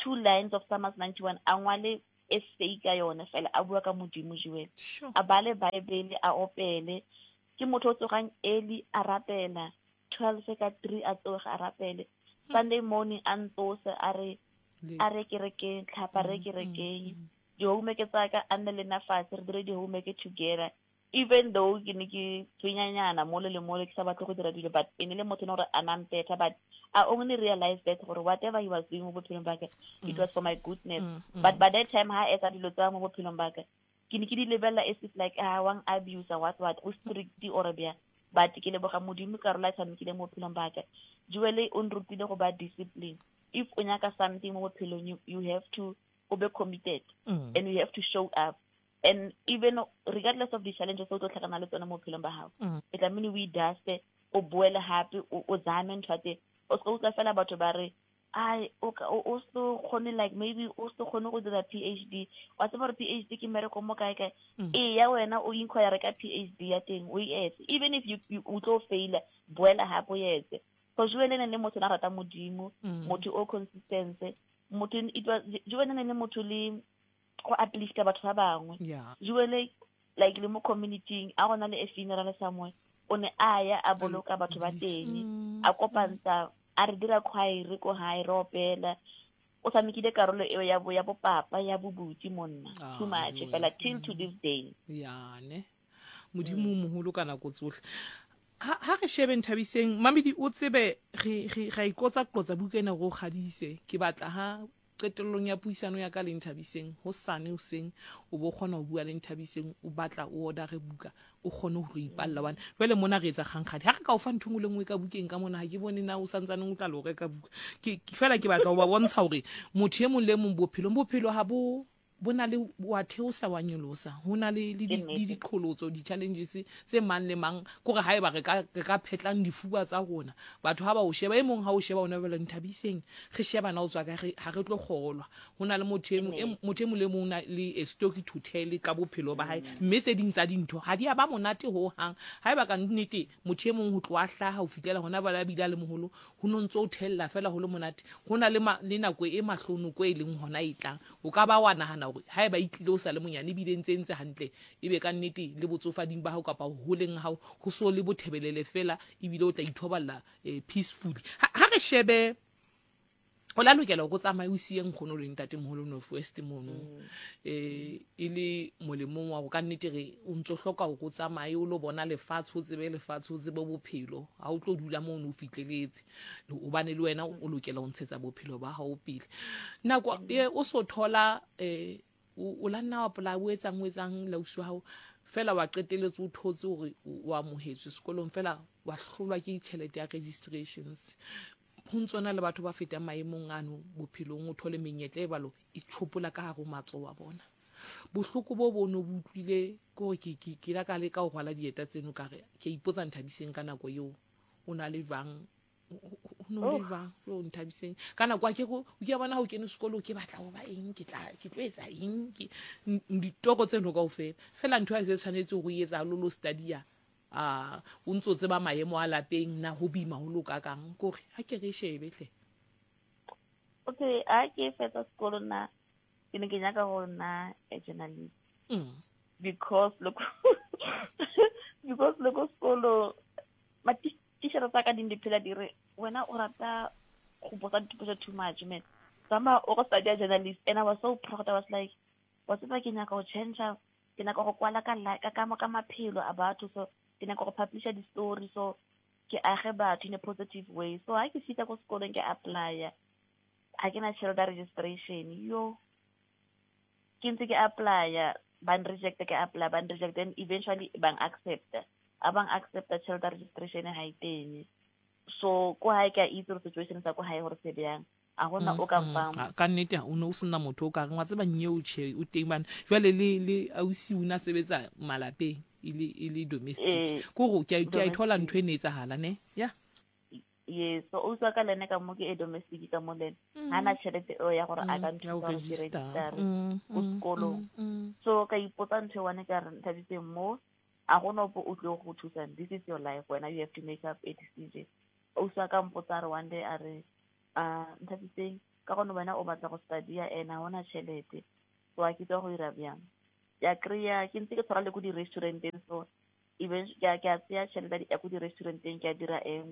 two lines of Psalms ninety-one, a ngwale essay ka yone fela, a bua ka Modimo Joel. Sure. A bale Bible, a opele. Ke motho o tsogang early a rapela, twelve ka three a tsoga a rapele. Sunday morning a ntsose a re a re kerekeng, tlhapa re kerekeng. Di-homework tsa ka a nne le nna fatshe, re dire di-homework together. Even though ke ne ke tshwenyanyana mole le mole, ke sa batle go dira dilo, but e ne le motho e leng gore a nampetha. But I only realized that gore whatever he was doing mo bophelong ba ka, it was for my goodness. Mm, mm. But by that time ha etsa dilo tsa mo bophelong ba ka, ke ne ke di lebella as if like, ah, wang abuse what what, o strict or bjang. But ke leboga Modimo ka rola tshamekile mo bophelong ba ka. Joel o nrutile go ba discipline. If o nyaka something mo bophelong, you, you have to be committed. Mm. And you have to show up. And even regardless of the challenges o tlo tlhakana le tsona mo bophelong ba hao, Mm. e tlamehile o i-duste, o boele hape, o, o zame ntho ya teng. O se ka utlwa fela batho ba re, ai, o ka, o, o se kgone, like, maybe o se kgone go dira P H D. Wa tseba gore P H D ke mmereko mo kae kae. Mm. Ee, ya wena o inquire ka P H D ya teng, o e etse. Even if you, you o tlo faila, boela hape o etse. Because Joel ne le motho na rata Modimo, Mm. motho o consistent, motho, it was, Joel ne le motho le go uplifta batho ba bangwe. Yeah. Joel, like, le mo community-ing, a gona le a funeral somewhere, o ne a ya a boloka batho ba teng, Mm. a kopantsha, a re dira choir ko hae, re opela. O tshamekile karolo eo ya bo, ya bo papa, ya bobuti monna. Ah, Too much, Joel. fela till to this day. Yeah, ne. Modimo o moholo ka nako tsohle. Ha, ha re shebe Nthabiseng, Mamedi o tsebe re, re, ra ikotsa qotsa buka ena re o kgadise. Ke batla ha qetellong ya puisano ya ka le Nthabiseng, hosane hoseng o bo kgona ho bua le Nthabiseng, o batla o order buka, o kgone ho re ipalla hobane jwale mona re etsa kgankgadi. Ha re ka o fa ntho e nngwe le nngwe ka bukeng ka mona, ha ke bone na o santsaneng o tla lo reka buka. Ke, ke fela ke batla ho ba bontsha hore motho e mong le e mong bophelong, bophelo ha bo, bo na le wa theosa wa nyolosa, ho na le, le di, Ke nnete. le diqholotso, di-challenges tse mang le mang. Kore haeba re ka, re ka phetlang difuba tsa rona, batho ha ba o sheba, e mong ha o sheba o na jwale Nthabiseng, re sheba na o tswa kae, re, ha re tlo kgolwa. Ho na le motho e mong, e Nnete. motho e mong le mong o na le a story to tell ka bophelo ba hae, mme tse ding tsa dintho ha di a ba monate hohang. Haeba ka nnete motho e mong ho tloha hlaha ho fihlela hona jwale a bile a le moholo, ho no ntso o thella fela ho le monate. Ho na le ma-, le nako e mahlonoko e leng hona e tlang. O ka ba wa nahana hore haeba e tlile o sa le monyane ebile ntse ntse hantle, ebe ka nnete le botsofading ba hao kapa ho holeng ha hao, ho so le bothebelele fela, ebile o tla ithoballa, eh, peacefully. Ha, ha re shebe, o la lokela hore o tsamaye o siye nkgono le ntatemoholo North West mono. Mm. Eh, e le molemong wa hore ka nnete re o ntso hloka hore o tsamaye o lo bona lefatshe, o tsebe lefatshe, o tsebe bophelo. Ha o tlo dula mono o fihleletse, hobane le wena o lokela ho ntshetsa bophelo ba hao pele. Nako e o so thola, eh, o, o la nna wa pola, o etsang, o etsang lausi wa hao, fela wa qetelletse o thotse hore o, o amohetswe sekolong, fela wa hlolwa ke tjhelete ya registrations. Ho ntso na le batho ba fetang maemong ano bophelong, o thole menyetla e balo e tjhopola ka hare ho matsoho a bona. Bohloko bo bo no bo utlwile ke hore ke, ke, ke la ka leka ho rwala dieta tseno ka re, ke a ipotsa Nthabiseng ka nako eo o na le jwang, o, o, o no le Oh. jwang, jo Nthabiseng. Ka nako ha ke re, o ke bona ha o kene sekolo, ke batla ho ba eng, ke tla, ke tlo etsa eng, ke, n-, ditoro tseno kaofela. Fela ntho ha e se tshwanetse hore o e etsa lolo study-a, ah, o ntso tseba maemo a lapeng na ho boima ho loka kang, ke hore ha ke re shebe hle. Okay, ha ke fetsa sekolo nna, ke ne ke nyaka ho nna a journalist. Mm. Because look, because look sekolo, ma titjhere tsa ka di ne di phela di re, wena o rata go botsa dipotso too much, man. Tsamaya o go study journalist, and I was so proud. I was like, wa tseba ke nyaka ho change, ke nyaka go kwala ka la-, ka, ka, ka maphelo a batho, so ke nyaka go publisha di-story, so ke age batho in a positive way. So ha ke fihla ko sekolong ke apply-a, ha ke na tjhelete ya registration, yo. Ke ntse ke apply-a, ba n-reject-a, ke apply-a, ba n-reject-a, then eventually ba n-accept-a. Ha ba n-accept-a, tjhelete ya registration ha e teng. So ko hae ke a itse hore situation sa ko hae hore se bjang. Ha hona o ka Mm, mm. mfang. Ah, ka nnete o ne o sena motho o ka reng wa tseba nyeo tjhe o teng bana. Jwale le, le ausi o na sebetsa malapeng e le, e le domestic. Eh, Ke hore ke a, ke a e thola domestic. ntho e ne etsahala ne? Ya. Yes, so ausi wa ka le ene ka mo ke e domestic ka mo le ene. Mm. Ha na tjhelete eo ya hore a Mm, ka ya ho nthusa hore ke register. register Mm, ko mm, sekolong. mm, mm. So ka ipotsa ntho e one ka re Nthabiseng mo, ha hona ope o tlo go thusang. This is your life, wena you have to make up a decision. Ausi wa ka mpotsa a re one day a re, A Nthabiseng, ka gone wena o batla go studya ene ga ona tšhelete, so a ke tswa go ira bjang. Ke a kry-a ke ntse ke tshwara le ko di-restauranteng, so even ke a ke a tseya tšhelete ya ko di-restauranteng, ke a dira a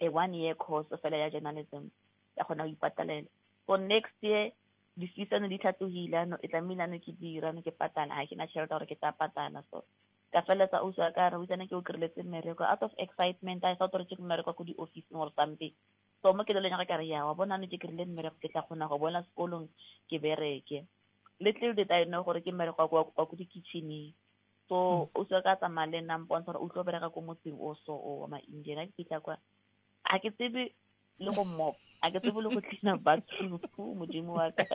a one year course fela ya journalism, ya kgona go ipatalela. So next year di-fees tsane di tlhatlogile, ano e tlamehile ano ke dira ano ke patala, ga ke na tšhelete gore ke tla patala. So ka feleletsa ausi wa ka re o itsane ke o kry-letse mmereko out of excitement, I thought gore ke mmereko ko di-officing or something. So mo ke leleng ya ka re ya wa bona ano ke kry-ile mmereko, ke tla kgona go boela sekolong ke bereke. Little did I know gore ke mmereko wa wa ko di-kitchen-eng. So ausi wa ka a tsamaya le nna, mpontsha gore o tlo bereka ko motseng o so o wa ma-Indian. Ha ke fitlha kwa, ga ke tsebe le go mop, ga ke tsebe le go cleana bathroom, modimo wa ka.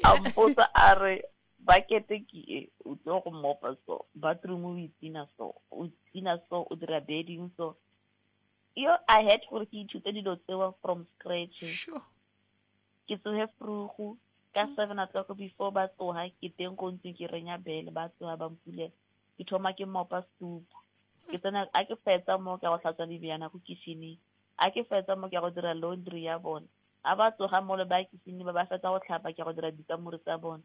A mpotsa a re bucket ke e, o tlo go mopa so, bathroom o itina so, o cleana so, o dira bedding so. Yo, I had gore ke ithute dilo tseo from scratch. Sure. Ke tsohe vroeg ka seven o'clock, before ba tsoha ke teng ko ntlong, ke renya bele, ba tsoha ba mpulela, ke thoma ke mopa soup, ke tsena a ke fetsa mo ke go hlatswa dibjana ko kitchen-eng, a ke fetsa mo ke go dira laundry ya bona. A ba tsoga mo le ba kitchen ba ba fetsa go tlhapa, ke go dira dikamore tsa bona.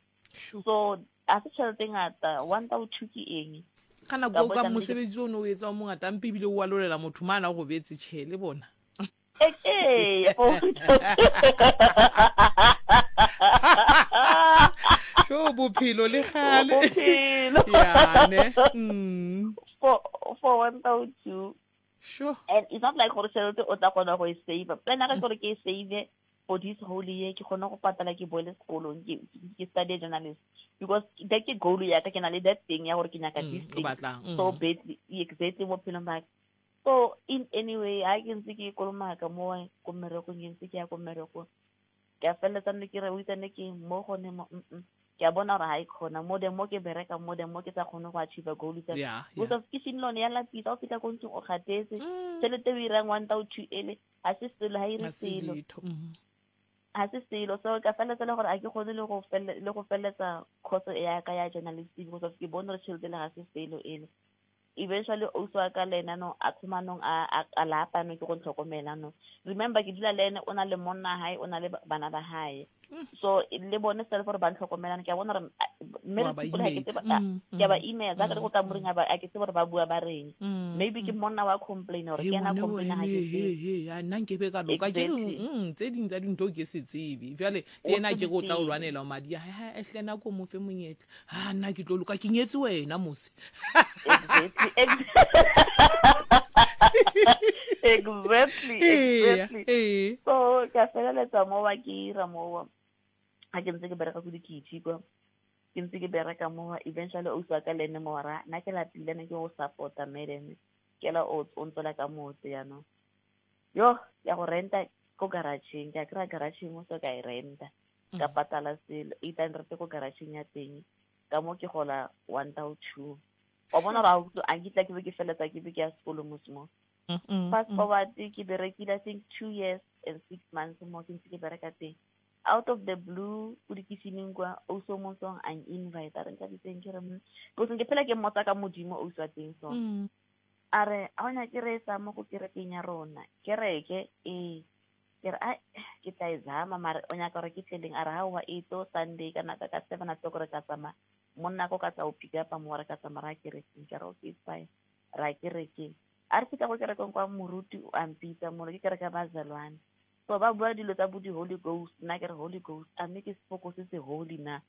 So a se tšhelete e ngata, one thousand two ke eng. Ka nako o ka mosebetsi o ne o etsa o mongata, mpe ebile o alolela motho mana o robetse, tjhe le bona. Ee, sho bophelo le gale. Bophelo. Ya ne. Mm. For for one thousand two. Sure. And it's not like gore tšhelete o tla kgona go e save. Plan ya ka ke gore ke e save for this whole year, ke kgone go patala, ke boele sekolong, ke ke study journalist, because that ke goal ya ka, ke na le that thing ya gore ke nyaka this o thing batlang so badly, exactly, mo phelong ba ka. So in any way, ha ke ntse ke kolomaka mo ko mmerekong, ke ntse ke ya ko mmerekong, ke a feleletsa nne ke re o itsane ke mo gone mo mm ke a bona gore ha e kgona mo the mo ke bereka mo the mo ke sa kgone go achieve goal tsa yeah because yeah of kitchen lone ya lapisa. O fitlha ko ntlong o kgathetse, Mm. tšhelete o irang one thousand two ele ha se selo, ha ire Ha se selo. letho. Mm. Ha se selo. So ka feleletsa le gore a ke kgone le go fele le go feleletsa course ya ka ya journalism, because of ke bone gore tšhelete le ga se selo ele. Eventually ausi wa ka le ena no a thoma nong a a a lapa no ke go ntlhokomela no. Remember, ke dula le ene, o na le monna hae, o na le bana ba hae, so le bone self gore ba ntlhokomela. Ke a bona gore mme Wa re ba people ha ke imetsa. tsebe Mm, ke a ba mm, imetsa ka re go kamoreng, a ba a ke tsebe gore ba bua ba reng. mm, Maybe ke monna wa complain or He ke ena ngwane complain, ha wene, ke he tsebe. he ya nna nkebe ka loka ke re Exactly. mm, tse ding tsa dintho ke se tsebe jwale le O ena se ke di re o tla o tsebe. lwanela madi a hae, ha hle nako mo fe monyetla, ha nna ke tlo loka, ke nyetse wena mose. Exactly, exactly, Eya, exactly. ee. So ka feleletsa mo wa ke ira mo ha ke ntse ke bereka ko dikitšhi kwa, ke ntse ke bereka mo. Eventually ausi wa ka le ene mo ra nna ke lapile ne ke go support-a madam, ke la o o ntswela ka motse jaanong yo ya go renta ko garageng, ke a kry-a garageng o so ka e renta, ka patala selo eight hundred ko garageng ya teng, ka mo ke gola one thousand two. Wa bona gore a nkitla ke be ke feletsa ke be ke ya sekolo mos mo. Mm, mm, Fast mm. forward, ke berekile I think two years and six months mo ke ntse ke bereka teng. Out of the blue, ko dikitšhineng kwa, ausi o mong a invite, a re Nthabiseng, ke re mm because ke phela ke mmotsa ka modimo ausi wa teng. So Mm. a re a o nyake re sa mo go kerekeng ya rona kereke ee, ke re ai ke tla e zama, mare o nyaka gore ke tleleng? A re haowa, e tlo Sunday ka naka ka seven o'clock re ka tsamaya, monna ko ka tla o pick up mo, re ka tsamaya ra kerekeng. Ke re okay, it's fine, ra kerekeng. A re fitlha ko kerekeng kwa, moruti o a mpitsa molo, ke kereke ya bazalwane, so ba bua dilo tsa bo di-Holy Ghost. Nna ke re Holy Ghost, a mme ke sepoko se se holy na?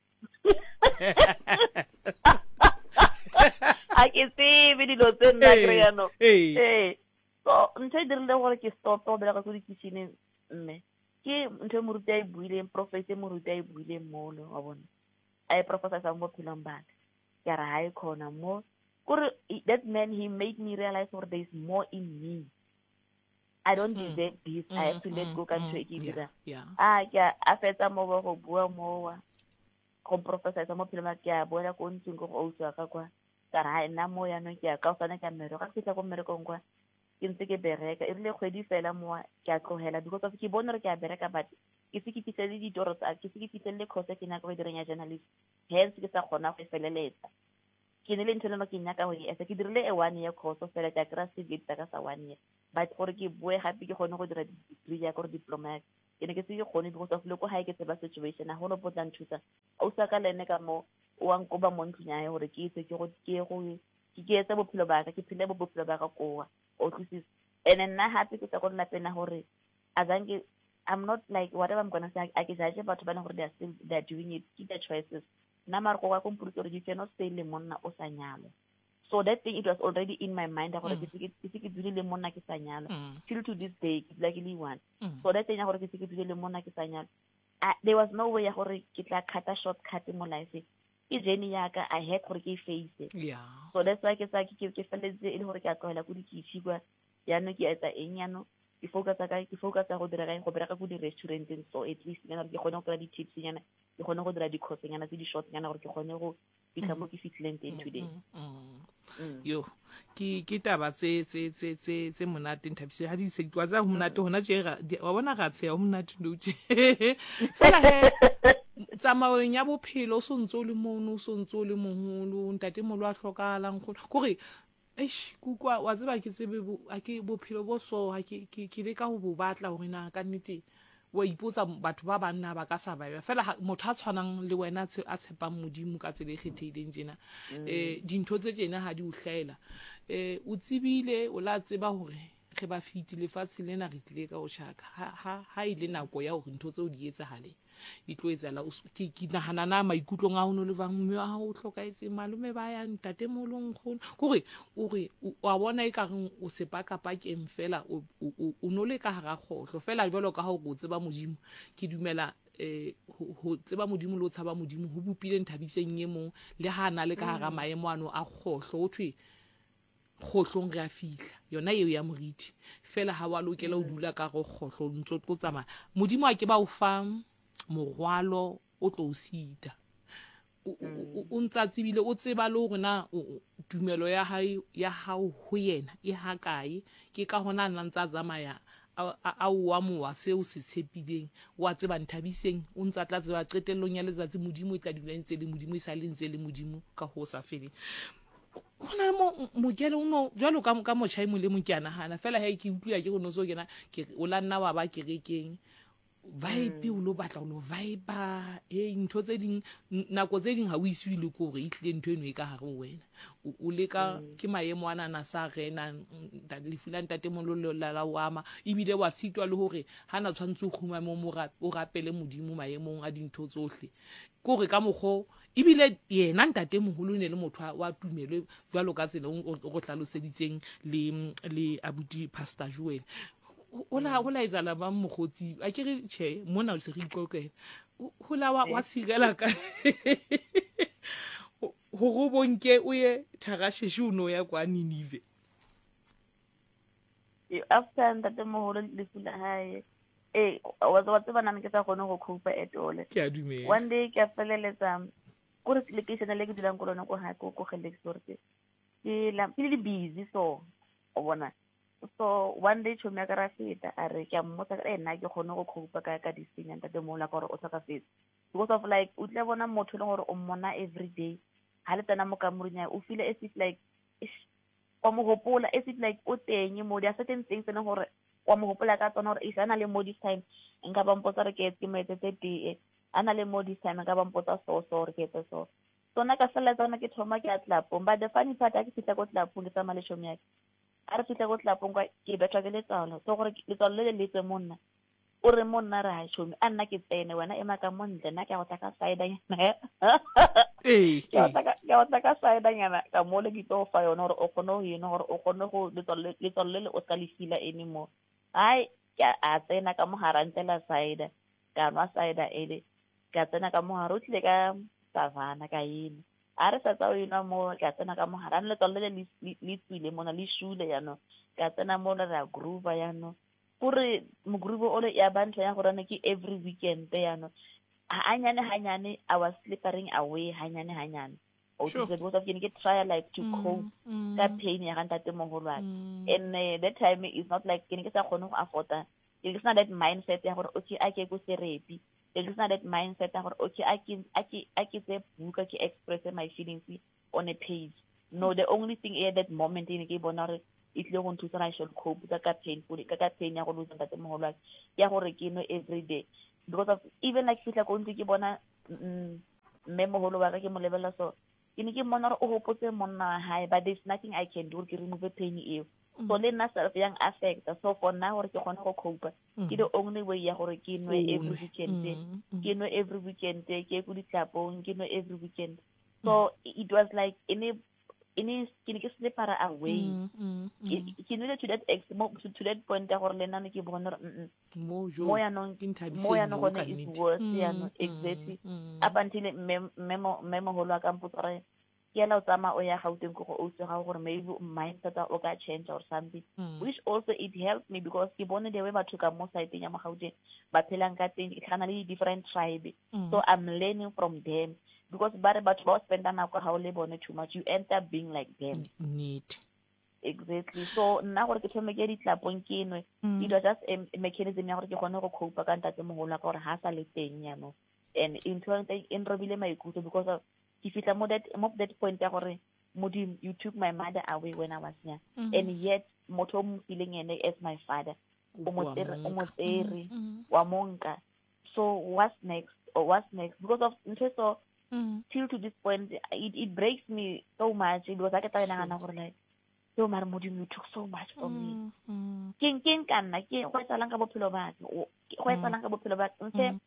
A ke tsebe dilo tse nna kry Ee, jaanong. ee. Ee, so ntho e dirile gore ke stop go bereka ko dikitšhineng mme ke ntho e moruti a e buileng, prophecy e moruti a e buileng molo wa bona, a e prophesisang mo bophelong ba ka. Ke re ha e khona mo kore that man, he made me realize gore there is more in me, I don't Mm. deserve this, I have to let Mm, go ka ntho mm, e ke e yeah, dirang. yeah. A ke a a fetsa mo ba go bua mowa go prophesisa mo phelong ba ka, ke a boela ko ntlong ko go ausi wa ka kwa, ka re ha nna mo yaanong ke ya ka osane ka mmereko. Ga ke fitlha ko mmerekong kwa, ke ntse ke bereka, e rile kgwedi fela mowa ke a tlogela, because of ke bone gore ke a bereka but ke se ke fitlhelele ditoro tsa ke se ke fitlhelele course e ke nyaka go e dirang ya journalist, hence ke sa kgona go e feleletsa. Ke ne le ntho e leng ke nyaka go e etsa. Ke dirile a one year course fela, ke a kry-a certificate sa ka sa one year, but gore ke boe gape ke kgone go dira degree ya ka or diploma ya ka, ke ne ke se ke kgone because of le ko gae ke tseba situation, ga gona bo tla nthusa. Ausi wa ka le ene ka mo o wa nkoba mo ntlong ya hae gore ke itse ke go ke go ke ke etse bophelo ba ka, ke phele bo bophelo ba ka koa, o utlwisisa. And nna gape ke tswa ko lelapeng la gore azanke, I'm not like, whatever I'm gonna say, a ke judge batho ba leng gore they are still, they are doing it, ke their choices. Nna mare go ka mpolotse gore you cannot stay le monna o sa nyalwa. So that thing, it was already in my mind gore ke se ke se ke dule le monna ke sa nyalwa. Mm. Till to this day ke dula ke le one. Mm. So that thing ya gore ke se ke dule le monna ke sa nyalwa, ah, there was no way ya gore ke tla cut-a shortcut mo life. Ke journey ya ka, I had gore ke e face. Yeah so that's why ke sa ke ke feletse e le gore ke a tlogela ko dikitšhi kwa. Yaanong ke etsa eng? Yaanong ke focusa ka ke focusa go dira ka go bereka ko di-restauranteng, so at least nyana gore ke kgone go kry-a di-tips nyana, ke kgone go dira di-course nyana tse di-short nyana gore ke kgone go fitlha mo ke fitlhileng teng today. Mm. Mm. Yo, ke ke taba tse tse tse tse tse monate, Nthabise, ha di se di tsa ho monate hona tje ra di- wa bona ra tsheha, ho monate no tje fela he tsamaong ya bophelo. O so ntse o le mono, o so ntse o le moholo, ntatemoholo a hlokahalang kgolo kore eish kukwa wa tseba ke tsebe bo- ha ke bophelo bo so ha ke ke ke leka ho bo batla hore na ka nnete wa ipotsa batho ba banna ba ka survive fela ha- motho a tshwanang le wena a tshe- a tshepang Modimo ka tsela e kgethehileng tjena, um dintho tse tjena ha di o hlaela, um o tsebile o la tseba hore re ba fiti lefatshe lena, re tlile ka ho tjhaka. ha ha ha ile nako ya hore ntho tseo di etsahale, di tlo etsahala. O s- ke ke nahana na maikutlong a ho no le bang mme wa hao o hlokahetse, malome ba ya, ntatemoholo, nkgono, kore o re o wa bona e kareng o sepakapakeng fela, o o- o- o no le ka hara kgohlo fela jwalo ka ha o re o tseba Modimo. Ke dumela eh ho ho tseba Modimo le ho tshaba Modimo ho bopile Nthabiseng e mong le ha na le ka hara maemo ano a kgohlo. Ho thwe kgohlong re a fihla, yona eo ya moriti fela ha wa lokela ho dula ka go kgohlo, o ntso tlo tsamaya. Modimo a ke ba o fa morwalo o tlo o sita, o o- o ntsa tsebile, o tseba le hore na o- o- tumelo ya hae ya hao ho yena e hakae. Ke ka hona a nna ntsa tsamaya a a o amoha seo se tshepileng. Wa tseba Nthabiseng o ntsa tla tseba qetellong ya letsatsi Modimo e tla dula e ntse le Modimo, e sa le ntse le Modimo ka ho sa feleng. Ho na le mo mokele o no jwalo ka ka motjha e mong le mong, ke a nahana fela he ke utlwila ke go no so kena ke o la nna wa ba kerekeng, vibe o lo batla o lo vibe e ntho tse ding, nako tse ding ha o isiwe le ko hore e tlile ntho eno e ka hare ho wena, o o leka ke maemo ana na sa rena lefu la ntatemoholo la la o ama, ebile wa sitwa le hore ha na tshwantse o kgumame o mo ra- o rapele Modimo maemong a dintho tsohle, ke hore ka mokgo ebile yena ntatemoholo o ne le motho wa- wa tumelo jwalo ka tsela o o go hlaloseditseng le le abuti Pastor Joel. Ho la ho la etsahala bang mokgotsi? A ke re tjhe, mona o se re iqoqela. Ho la wa wa sirela ka hore o bonke o ye Tharasheshe, o no ya kwa Ninive. Eh, after ntatemoholo lefu la hae, ee, wa wa tseba nna ke sa kgone go cope at all. Ke a dumela. One day ke a feleletsa kore lekeishene le ke dulang ko lona ko hae ko ko Gelexor, ke ke la ke le busy, so o bona. So one day tšhomi ya ka ra feta, a re ke a mmotsa ka nna ke kgone go cope ka ka this thing ya ntatemoholo wa ka gore o tlhokafetse, because of like o tlile bona motho e leng gore o mmona every day, ha le tsena mo kamoreng ya hae, o feel as if like eish, wa mo hopola as if like o teng mo. There are certain things e leng gore wa mo hopola ka tsona, gore eish, a na le mo this time nka ba mpotsa gore ke ke mo etsetse tee, a na le mo this time nka ba mpotsa so so gore ke etse so. So nna ka feleletsa gona ke thoma ke ya clubong. But the funny part, ha ke fihla ko clubong ke tsamaya le tšhomi ya ka, a re fihla ko clubong kwa, ke bethwa ke letswalo, so gore letswalo le le letswe mo nna, o re mo nna re ha tšhomi a nna ke tsene, wena ema ka mo ntle, nna ke a go tla ka cidernyana. Ee. Ke a go tla ka- ke a go tla ka cidernyana ka mole, ke tlo go fa yone gore o kgone go enwa, gore o kgone go letswalo le letswalo le le o ska le feel-a anymore. Hai, ke a a tsena ka mogare, a ntlela cider, ka nwa cider ele, ka tsena ka mogare, o tlile ka Savannah, ka ena a re sa tsa o enwa mo, ka tsena ka mogare ano, letswalo le le le tswile mona, le shule yaanong, ka tsena mona re a groova yaanong, kore mogroove ole ya ba ntho ya gore ne ke every weekend yaanong, hanyane hanyane I was slippering away hanyane hanyane, o Sure. utlwisisa, because of ke ne ke try like to cope Mm, ka pain ya ga ntatemoholo wa ka. mm. And uh, that time is not like ke ne ke sa kgone go afforda, ke ne ke sena that mindset ya gore okay, a ke ye ko therapy. Be ke sena that mindset ya gore okay, a ke a ke a ke tse buka ke express my feelings on a page. No, the only thing at that moment e ne ke bona gore e tlile go nthusa I should cope ka ka painful ka ka pain ya go lose ntatemoholo wa ka, ke ya gore ke nwe every day, because of even like fihla ko ntlo ke bona mm, mme moholo wa ka ke mo lebelela so ke ne ke mmona gore o hopotse monna wa hae, but there's nothing I can do gore ke remove pain eo. So le nna self yang affecta. So for nna gore ke kgone go cope, ke the only way ya gore ke nwe every weekend, ke nwe every weekend, ke ye ko ditlapong, ke nwe every weekend. So it was like e ne e ne ke ne ke slipara away. Ke ke nwele to that ex mo to, to that point ya gore le nna ne ke bone gore mm mo jo mo yanong ke nthabiseng mo yanong mo gone ka is nnete. worse yanong, exactly, up until mme mme mo- mme moholo wa ka mpotsa gore ke ela o tsamaya o ya Gauteng ko go ausi wa gago gore maybe mindset o ka change or something, which also it helped me because ke bone the way batho ka mo siteng ya mo Gauteng ba phelang ka teng, ke tlhakana le di-different tribe. So I'm learning from them because ba re batho ba o spenda nako ga o le bone too much, you end up being like them. Nnete. Exactly. So nna gore ke thome ke ye ditlapong ke nwe, it was just a a mechanism ya gore ke kgone go cope ka ntatemoholo wa ka gore ha sa le teng yanong, and ntho e e nrobile maikutlo because of ke fihla mo that mo that point ya gore Modimo, you took my mother away when I was young, and yet motho o mo fileng ene as my father o mo Wa tsere o mo mo nka. tsere wa mo nka. So what's next or what's next? Because of ntho e so till to this point it, it breaks me so much because ha ke tla nagana gore like yo mare Modimo, you took so much from me. Keng keng ka nna ke go etsahalang ka bophelo ba ka? O- go etsahalang ka bophelo ba ka? Ntse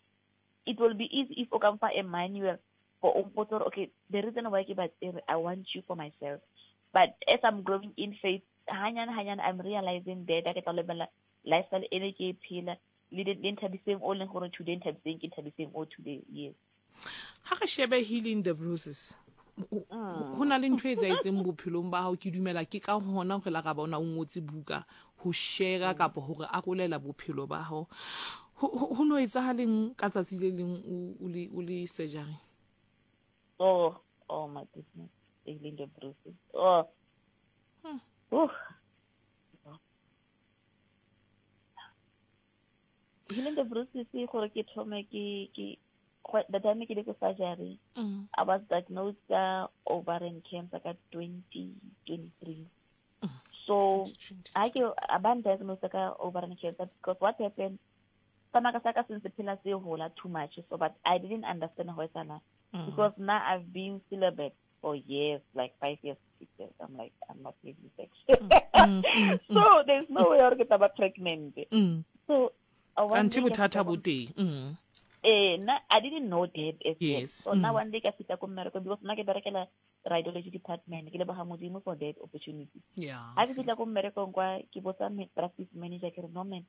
it will be easy if o ka mfa a manual for o mpotse gore okay, the reason why ke ba tsere, I want you for myself. But as I'm growing in faith hanyane hanyane, I'm realizing that ha ke tla lebella lifestyle e ne ke e phela le le Nthabiseng o leng gore today Nthabiseng ke Nthabiseng o today, yes. Ha re shebe healing the bruises, ho na le ntho e etsahetseng bophelong ba hao, ke dumela ke ka hona re la ra bona o ngotse buka ho share kapa hore arolela bophelo ba hao. Ho ho- ho no etsahaleng ka tsatsi le leng o o le o le surgery? Oh, oh my goodness, healing the bruises. Oh, Oof. Healing the bruises ke gore ke thome ke ke go- the time ke le ko surgery, I was diagnosed ka ovarian cancer ka twenty twenty-three. So I ke a ba diagnosed ka ovarian cancer because what happened, stomach sa ka se ntse phela se hola too much, so but I didn't understand ho etsahalang because now I've been celibate for years, like five years, six years. I'm like, I'm not having sex. So there's no way gore ke tla ba pregnant. So uh, one Kanthe day ke bothata fihla bo ko- teng. Mm. Eh, nna I didn't know that as yet. Yes. So now one day ka fihla ko mmerekong because nna ke berekela radiology department, ke leboga Modimo for that opportunity. Yeah. Ha ke fihla ko mmerekong kwa ke botsa me- practice manager, ke re no man,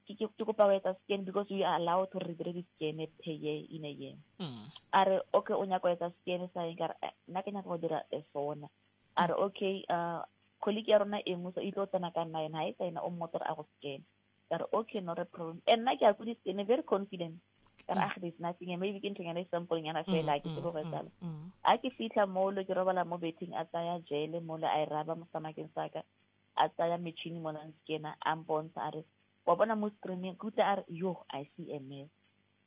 ke ke ke kopa ho etsa scan because we are allowed to re dire di-scan per year in a year. Mm. A re okay, o nyaka ho etsa scan sa eng? Ka re, "Eh, nna ke nyaka go dira a sona." A re okay, uh colleague ya rona e nngwe so e tlo tsena ka nna yena ha e tsa ena o mmotsa gore a go scan. Ka re okay, not a problem. And nna ke ya ko di-scan very confident, ka re ah, there's nothing, and maybe ke nthonyana e simple nyana fela, ha ke tsebe go etsahala. A ke fitlha molo ke robala mo betheng, a tsaya jele molo a e raba mo stomacheng sa ka, a tsaya metšhini mola a nscana, a mpontsha, a re wa bona mo screening, ke utlwa a re yo, I see a mess.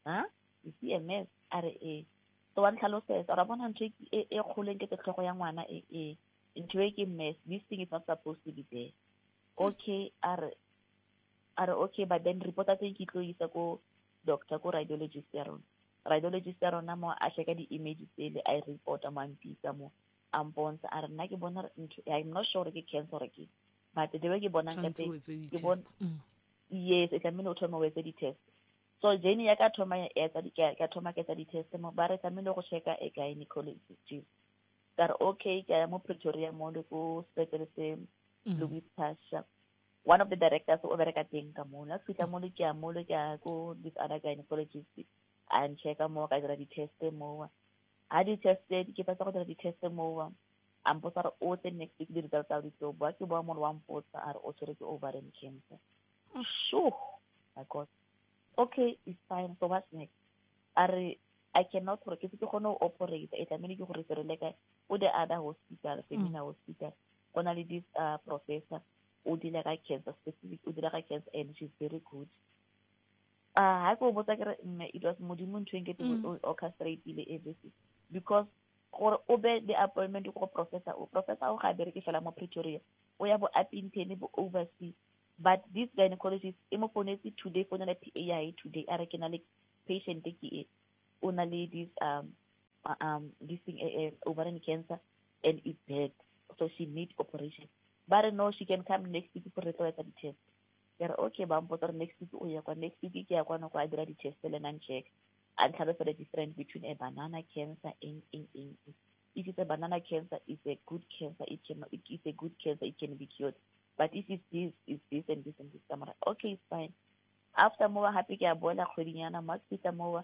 Ha, you see a mess? A re ee. So wa ntlhalosetsa ra bona ntho e e e kgoleng ke tse tlhogo ya ngwana e e ntho e ke mess, this thing is not supposed to be there. Okay, a re a re okay, but then report teng ke tlo isa ko doctor, ko radiologist ya rona. Radiologist ya rona mo a checka di-image tsele, a e reporta mo, a mpitsa mo, a mpontsha, a re nna ke bona ntho, I'm not sure ke cancer or ke, but the way ke bonang ka Tshwanetse teng o etse ke bona di-test. Mm. Yes, e tlamehile o thome o etse di-test. So journey ya ka thoma ya etsa di- ka ka thoma ke etsa di-test mo, ba re tlamehile go checka a gynecologist. Ka re okay, ke ya mo Pretoria mo le ko sepetlele se Louis Pasteur, one of the directors o bereka teng ka mo. La fihla mo le ke ya mo le ke ya ko this other gynecologist, a nchecka mo, ka dira di-test mo. Ha di-test ke fetsa go dira di-test mo, a mpotsa gore o tle next week, di-result tsa di tlo boa. Ke boa mo wa mpotsa, a re o tshwere ke ovarian cancer. Sure, my God. Okay, it's fine. So what's next? A re I cannot gore ke se ke kgone go operate, e tlamehile ke go referele ka ko the other hospital, Femina Hospital. Go na le this uh, professor o deala ka cancer specific, o deala ka cancer and she's very good. Ah, ha ke o botsa ke re mme it was modimo ntho e nkete Mm. o orchestrateile everything because gore o be le appointment ko go professor o professor o ga a bereke fela mo Pretoria o ya bo Upington bo overseas but this gynecologist e mo founetse today founela PA ya hae today a re ke na le patient ke e o na le this um uh, um this thing uh, uh, ovarian cancer and it's bad so she need operation ba re no she can come next week for re tlo etsa di-test ke re okay ba mpotsa gore next week o ya kwa next week ke ya kwano kwa a dira di-test le nang check a ntlhalosa the difference between a banana cancer eng eng eng eng. if it's a banana cancer it's a good cancer it can it, it's a good cancer it can be cured but if it's this it's this and this and this ka mora okay it's fine after mowa hape ke a boela kgwedinyana mo ke fihla mowa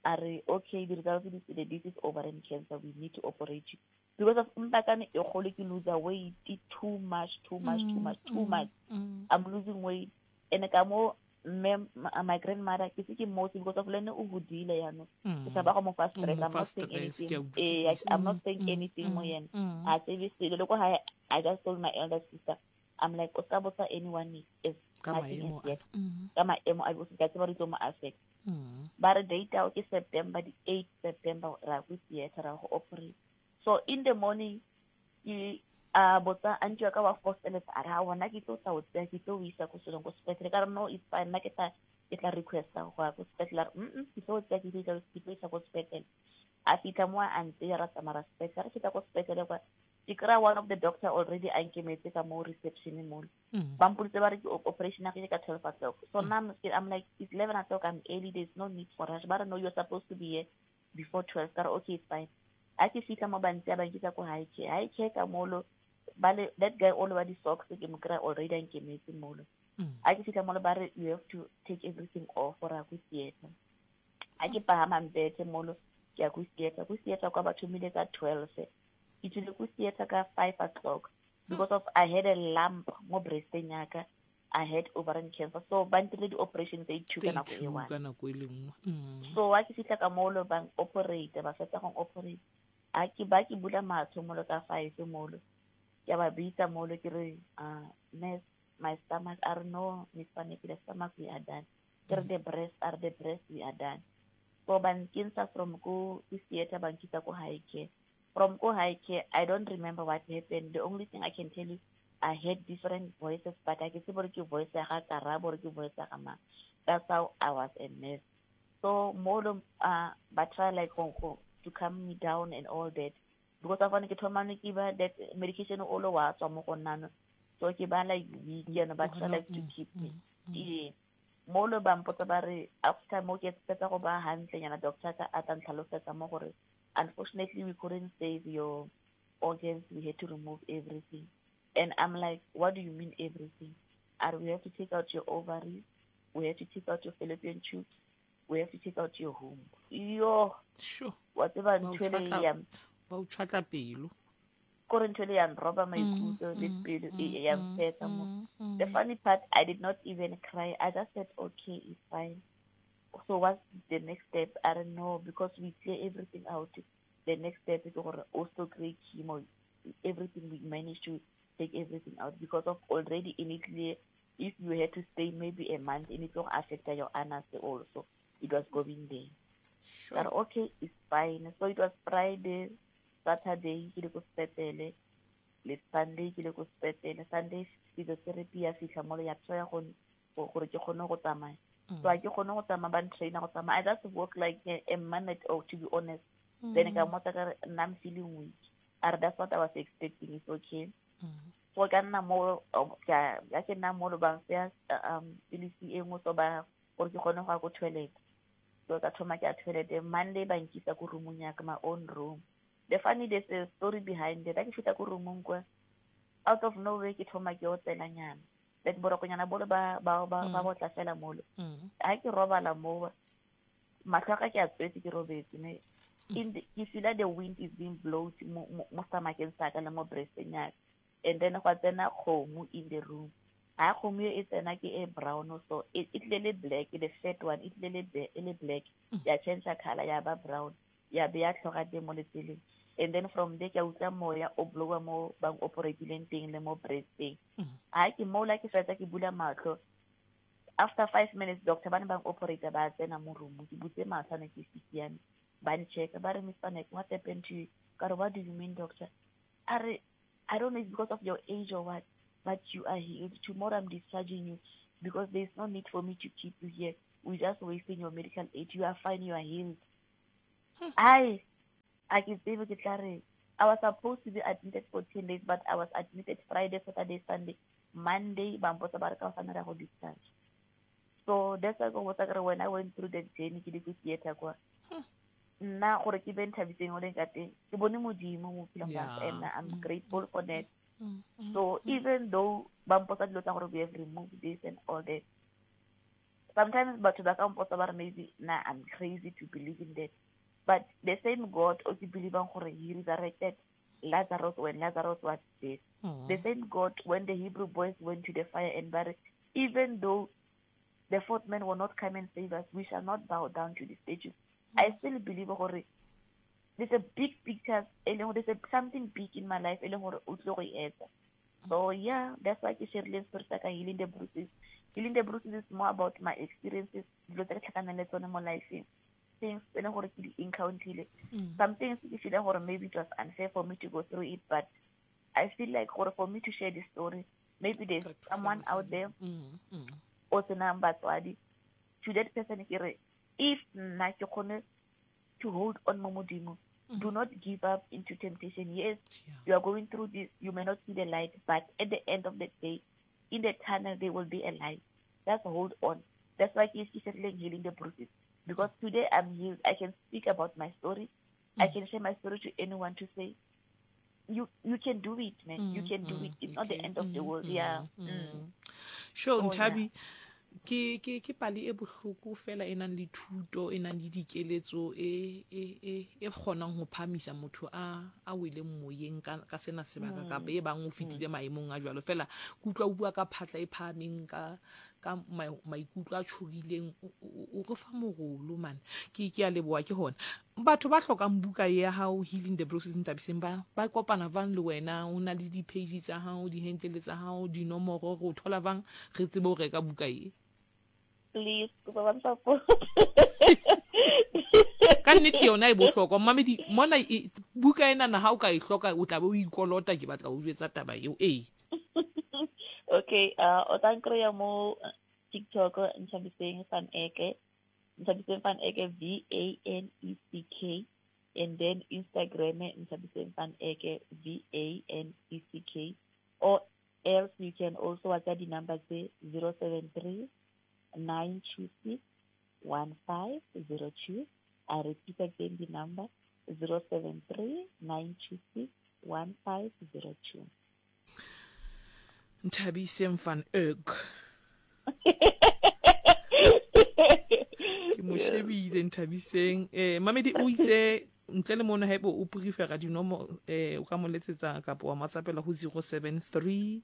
a re okay the results di tswile this is ovarian cancer we need to operate you because of mpakane e kgolo ke lose weight too much too much too much too much Mm. I'm losing weight and ka mo mme ma- my grandmother ke se ke mmotse because of le ene o hodile yaanong Mm. ke tshaba go mo fa O stress mo I'm fa not saying stress, ke a anything eh utlwisisa. I'm not Mm, saying mm, anything mo mm, yena mm. a tsebe selo le ko hae I just told my elder sister I'm like o ska botsa anyone is Ka nothing maemo is yet a. Mm. ka maemo a because ke a tseba gore e tlo mo affect Mm. ba re date ao ke September di eight September ra ko theatre ra go operate so in the morning ke a botsa auntie wa ka wa fosteletsa a re ha wona ke tlo tla o tseya ke tlo o isa ko selong ko sepetlele ka re no it's fine nna ke tla ke tla requesta go ya ko sepetlele a re mm ke tlo o tseya ke tlo ke tlo isa ko sepetlele a fitlha mo a ntseya ra tsamaya ra sepetlele re fihla ko sepetlele kwa ke kry-a one of the doctor already a nkemetse ka mo reception mole Mm. ba mpoditse ba re ke op- operation ya ke ka twelve o'clock so now I'm, I'm like it's eleven o'clock I'm early there's no need for rush ba re no you're supposed to be here before twelve ka re okay it's fine a ke fitlha mo ba ntseya ba nkisa ko high care high care ka molo ba le that guy all wa di-socks ke mo kry-a already a nkemetse molo Mm. a ke fitlha molo ba re you have to take everything off gore ya ko theatre a ke pagama mbethe molo ke ya ko theatre ko theatre kwa ba thomile ka twelve ke tswile ko theatre ka five o'clock because of I had a lump mo breasteng ya ka I had ovarian cancer so ba ntirile di-operation tse two ka Tse nako e two one ka nako e le nngwe. Mm. so wa ke fitlha ka molo bang operate ba fetsa go operate a ke ba ke bula matlho molo ka five molo ke a ba bitsa molo ke re ah nurse my stomach a re no miss Faneki the stomach we are done ke re the breast a re the breast we are done so ba nkentsha from ko ko theatre ba nkisa ko high care from ko high care I don't remember what happened the only thing I can tell you I heard different voices but a ke tsebe gore ke voice ya ga Karabo or ke voice ya ga mang that's how I was a mess so molo uh ba try like go go to calm me down and all that because of ke thoma ne ke ba that medication o lo wa tswa mo go nna no so ke ba like weak you know ba try like to Mm, keep me mm, mm. ee molo ba mpotsa ba re after mo ke fetsa go ba hantle nyana doctor ka a tla ntlhalosetsa mo gore unfortunately we couldn't save your organs we had to remove everything and I'm like what do you mean everything are we have to take out your ovaries we have to take out your fallopian tubes we have to take out your womb yo Sure. wa tseba Ba o ntho ele tjhwatla- ya ba o tjhwatla pelo. kore ntho ele ya nroba maikutlo le mm, pelo mm, e ya mm, mfetsa mo mm, mm. The funny part, I did not even cry. I just said, okay, it's fine. So what's the next step? I don't know because we clear everything out. The next step is gore also create chemo. Everything we managed to take everything out because of already in Italy, if you had to stay maybe a month, and it will affect your anus also. It was going there. Sure. But okay, it's fine. So it was Friday, Saturday, ke ile ko sepetlele, le Sunday ke ile ko sepetlele. Sunday physiotherapy ya fihla molo ya try go go- gore ke kgone go tsamaya. Mm. So ha ke kgone go tsamaya ba ntraina go tsamaya. I just walk like a, a minute or to be honest. Then ka mmotsa ka re nna I'm feeling weak. A re that's what I was expecting. It's okay. Mm. So ka nna mo oh, ka ya ke nna mo lo ba mfa um pilisi e nngwe so ba gore ke kgone go ya ko toilet. So ka thoma ke ya toilet Monday ba nkisa ko roomong ya ka my own room. The funny there's a story behind it. Ha ke fihla ko roomong kwa out of nowhere ke thoma ke otselanyana. Like borokonyana bolo ba ba ba ba Mm. botla fela molo. Mm. Ha ke robala moo mahlo a ka ke a tswetse ke robetse ne in the, ke feel the wind is being blown mo mo mo stomacheng sa ka le mo breasteng ya ka. And then gwa tsena kgomo in the room. Ha kgomo e tsena ke e brown so e e tlile le black the fat one e tlile le be- e le black ya change color ya ba brown ya be ya tlhoga teng mo letseleng and then from there ke a utlwa moya o blowa mo bang operatileng teng le mo breasteng Mm. ha ke mola ke fetsa ke bula matlho After five minutes, doctor ba ne bang operator ba tsena mo room, ke butse matlho ne ke sisiame, ba nchecka, ba re, "Miss Van Eck, what happened to you?" Ka re, "What do you mean, doctor?" A re, "I don't know, it's because of your age or what, but you are healed. Tomorrow I'm discharging you because there's no need for me to keep you here. We're just wasting your medical aid. You are fine, you are healed." I I ke tsebe ke tla reng. I was supposed to be admitted for ten days, but I was admitted Friday, Saturday, Sunday, Monday, ba mpotsa ba re ka hosane re ya go discharge. So that's why ko botsa kare when I went through that journey, ke le ko theatre kwa, nna gore ke be Nthabiseng o leng ka teng, ke bone Modimo mo bophelong ba ka, Yeah. and I'm grateful for that. So even though ba mpotsa dilo tsa gore we have removed this and all that, sometimes batho ba ka mpotsa ba re maybe na I'm crazy to believe in that, but the same God o ke believang gore he resurrected Lazarus when Lazarus was dead, the same God when the Hebrew boys went to the fire and ba re, even though the fourth man will not come and save us, we shall not bow down to the statues, I still believe gore there's a big picture e leng gore there's a, something big in my life e leng gore o tlile go e etsa. So yeah, that's why ke sharile story sa ka, Healing the Bruises. Healing the Bruises is more about my experiences, dilo tse ke tlhakaneng le tsone mo lifeng, things tse leng gore ke di encounterile. Some things ke feeling gore maybe it was unfair for me to go through it, but I feel like gore for me to share this story, maybe there's someone out there o senang batswadi. To that person ke re, if nna ke kgone to hold on mo Modimo, do not give up into temptation. Yes, you are going through this, you may not see the light, but at the end of the day, in the tunnel there will be a light. Just hold on. That's why ke ke sharileng Healing the Bruises, because today I'm healed. I can speak about my story, I can share my story to anyone to say you you can do it, man, you can do it. It's not the end of the world. Yeah. mm. Sure. Oh, Nthabi, ke ke ke pale e bohloko fela e nang le thuto, e nang le dikeletso, e e e e kgonang ho phahamisa motho a a weleng moyeng ka ka sena sebaka, kapa e bang o fetile maemong a jwalo. Fela ke utlwa o bua ka phatla e phahameng, ka ka maikutlo a tshohileng, o re fa morolo man. Ke ke a leboha. Ke hona batho ba hlokang buka ya hao, Healing the Bruises, Nthabiseng, ba ba kopana vang le wena? O na le di-page tsa hao, di-handle tsa hao, dinomoro, re o thola vang re tsebe ho reka buka e? Please, kopa ba support. Ka nnete yona e bohlokwa, mmamedi mona e, buka ena na ha o ka e hloka, o tla be o ikolota. Ke batla ho jwetsa taba eo, ee. Okay, uh o tla nkry-a mo TikTok, Nthabiseng Van Eke, Nthabiseng Van Eke, V A N E C K, and then Instagram, Nthabiseng Van Eke, V A N E C K, or else you can also WhatsApp di-number tse zero seven three nine two six one five zero two. I repeat again the number, zero seven three nine two six one five zero two. Nthabiseng Van Eck, ke mo shebile Nthabiseng. eh mamedi o itse ntle le mono, haeba o prefera dinomoro, eh o ka mo letsetsa kapa wa matsapela ho zero seven three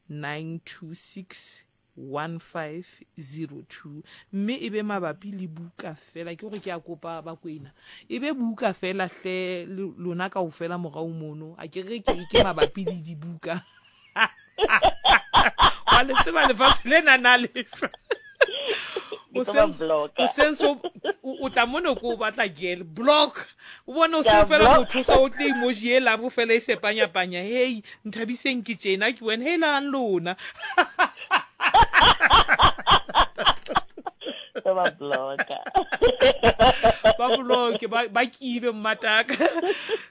nine two six one five zero two, mme e be mabapi le buka fela. Ke gore ke a kopa Bakwena, e be buka fela hle, lona kaofela morao mono. A ke re ke ke mabapi le dibuka wa le tseba, lefatshe lena na lefa o sense o tla mono ko o batla gel block, o bone o se fela motho sa o tle emoji e love fela e sepanyapanya. Hey, Nthabiseng, ke tjena ke wena, helang lona. Ba blocka. Ba block, ba ba kibe mmataka.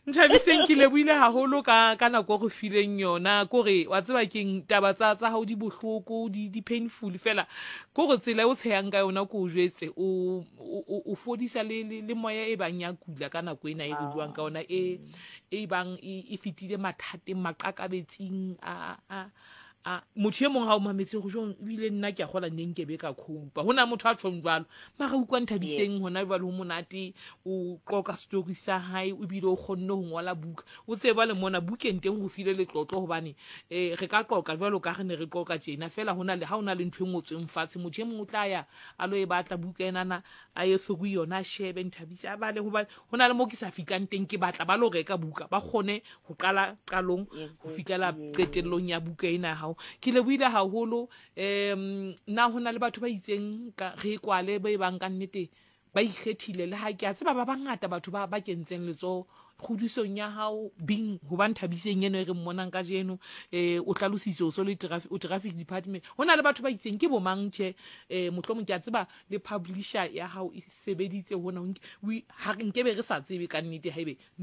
Nthabiseng, ke lebohile haholo ka ka nako re fileng yona. Kore wa tseba keng, taba tsa tsa hao di bohloko, di di painful, fela kore tsela o tshehang ka yona, ko o jwetse, o o fodisa le le moya e bang ya kula ka nako ena e re buang ka yona, e e bang e fetile mathateng, maqakabetsing a a a motho e mong ha o mametse go jong, ebile nna ke a gola neng ke be ka copa ho na motho a tshong jwalo. Mara utlwa Nthabiseng hona jwale ho monate, o qoqa story sa hae, o bile o kgonne ho ngola buka. O tseba le mona bukeng teng ho file letlotlo, hobane eh re ka qoqa jwalo ka re ne re qoqa tjena fela, hona le ha ona le ntho e ngotsweng fatshe, motho e mong o tla ya a lo e batla buka enana, a ye through yona, a shebe Nthabise, a bale, hobane hona le mo ke sa fitlang teng, ke batla ba lo reka buka ba kgone ho qala qalong ho fitlela qetellong ya buka ena. Ha gago. Ke leboile gagolo. Um na go na le batho ba itseng ka re kwale ba e bang ka nnete ba ikgethile, le ga ke a tseba ba bangata batho ba ba kentseng letsoho kgodisong ya gago bing gobane Thabiseng eno e re mmonang ka jeno, um o hlalositse o so le o traffic department, go na le batho ba itseng ke bomang tšhe? Um mohlomong ke a tseba le publisher ya gago e sebeditse gona, nkebe re sa tsebe ka nnete gaebe.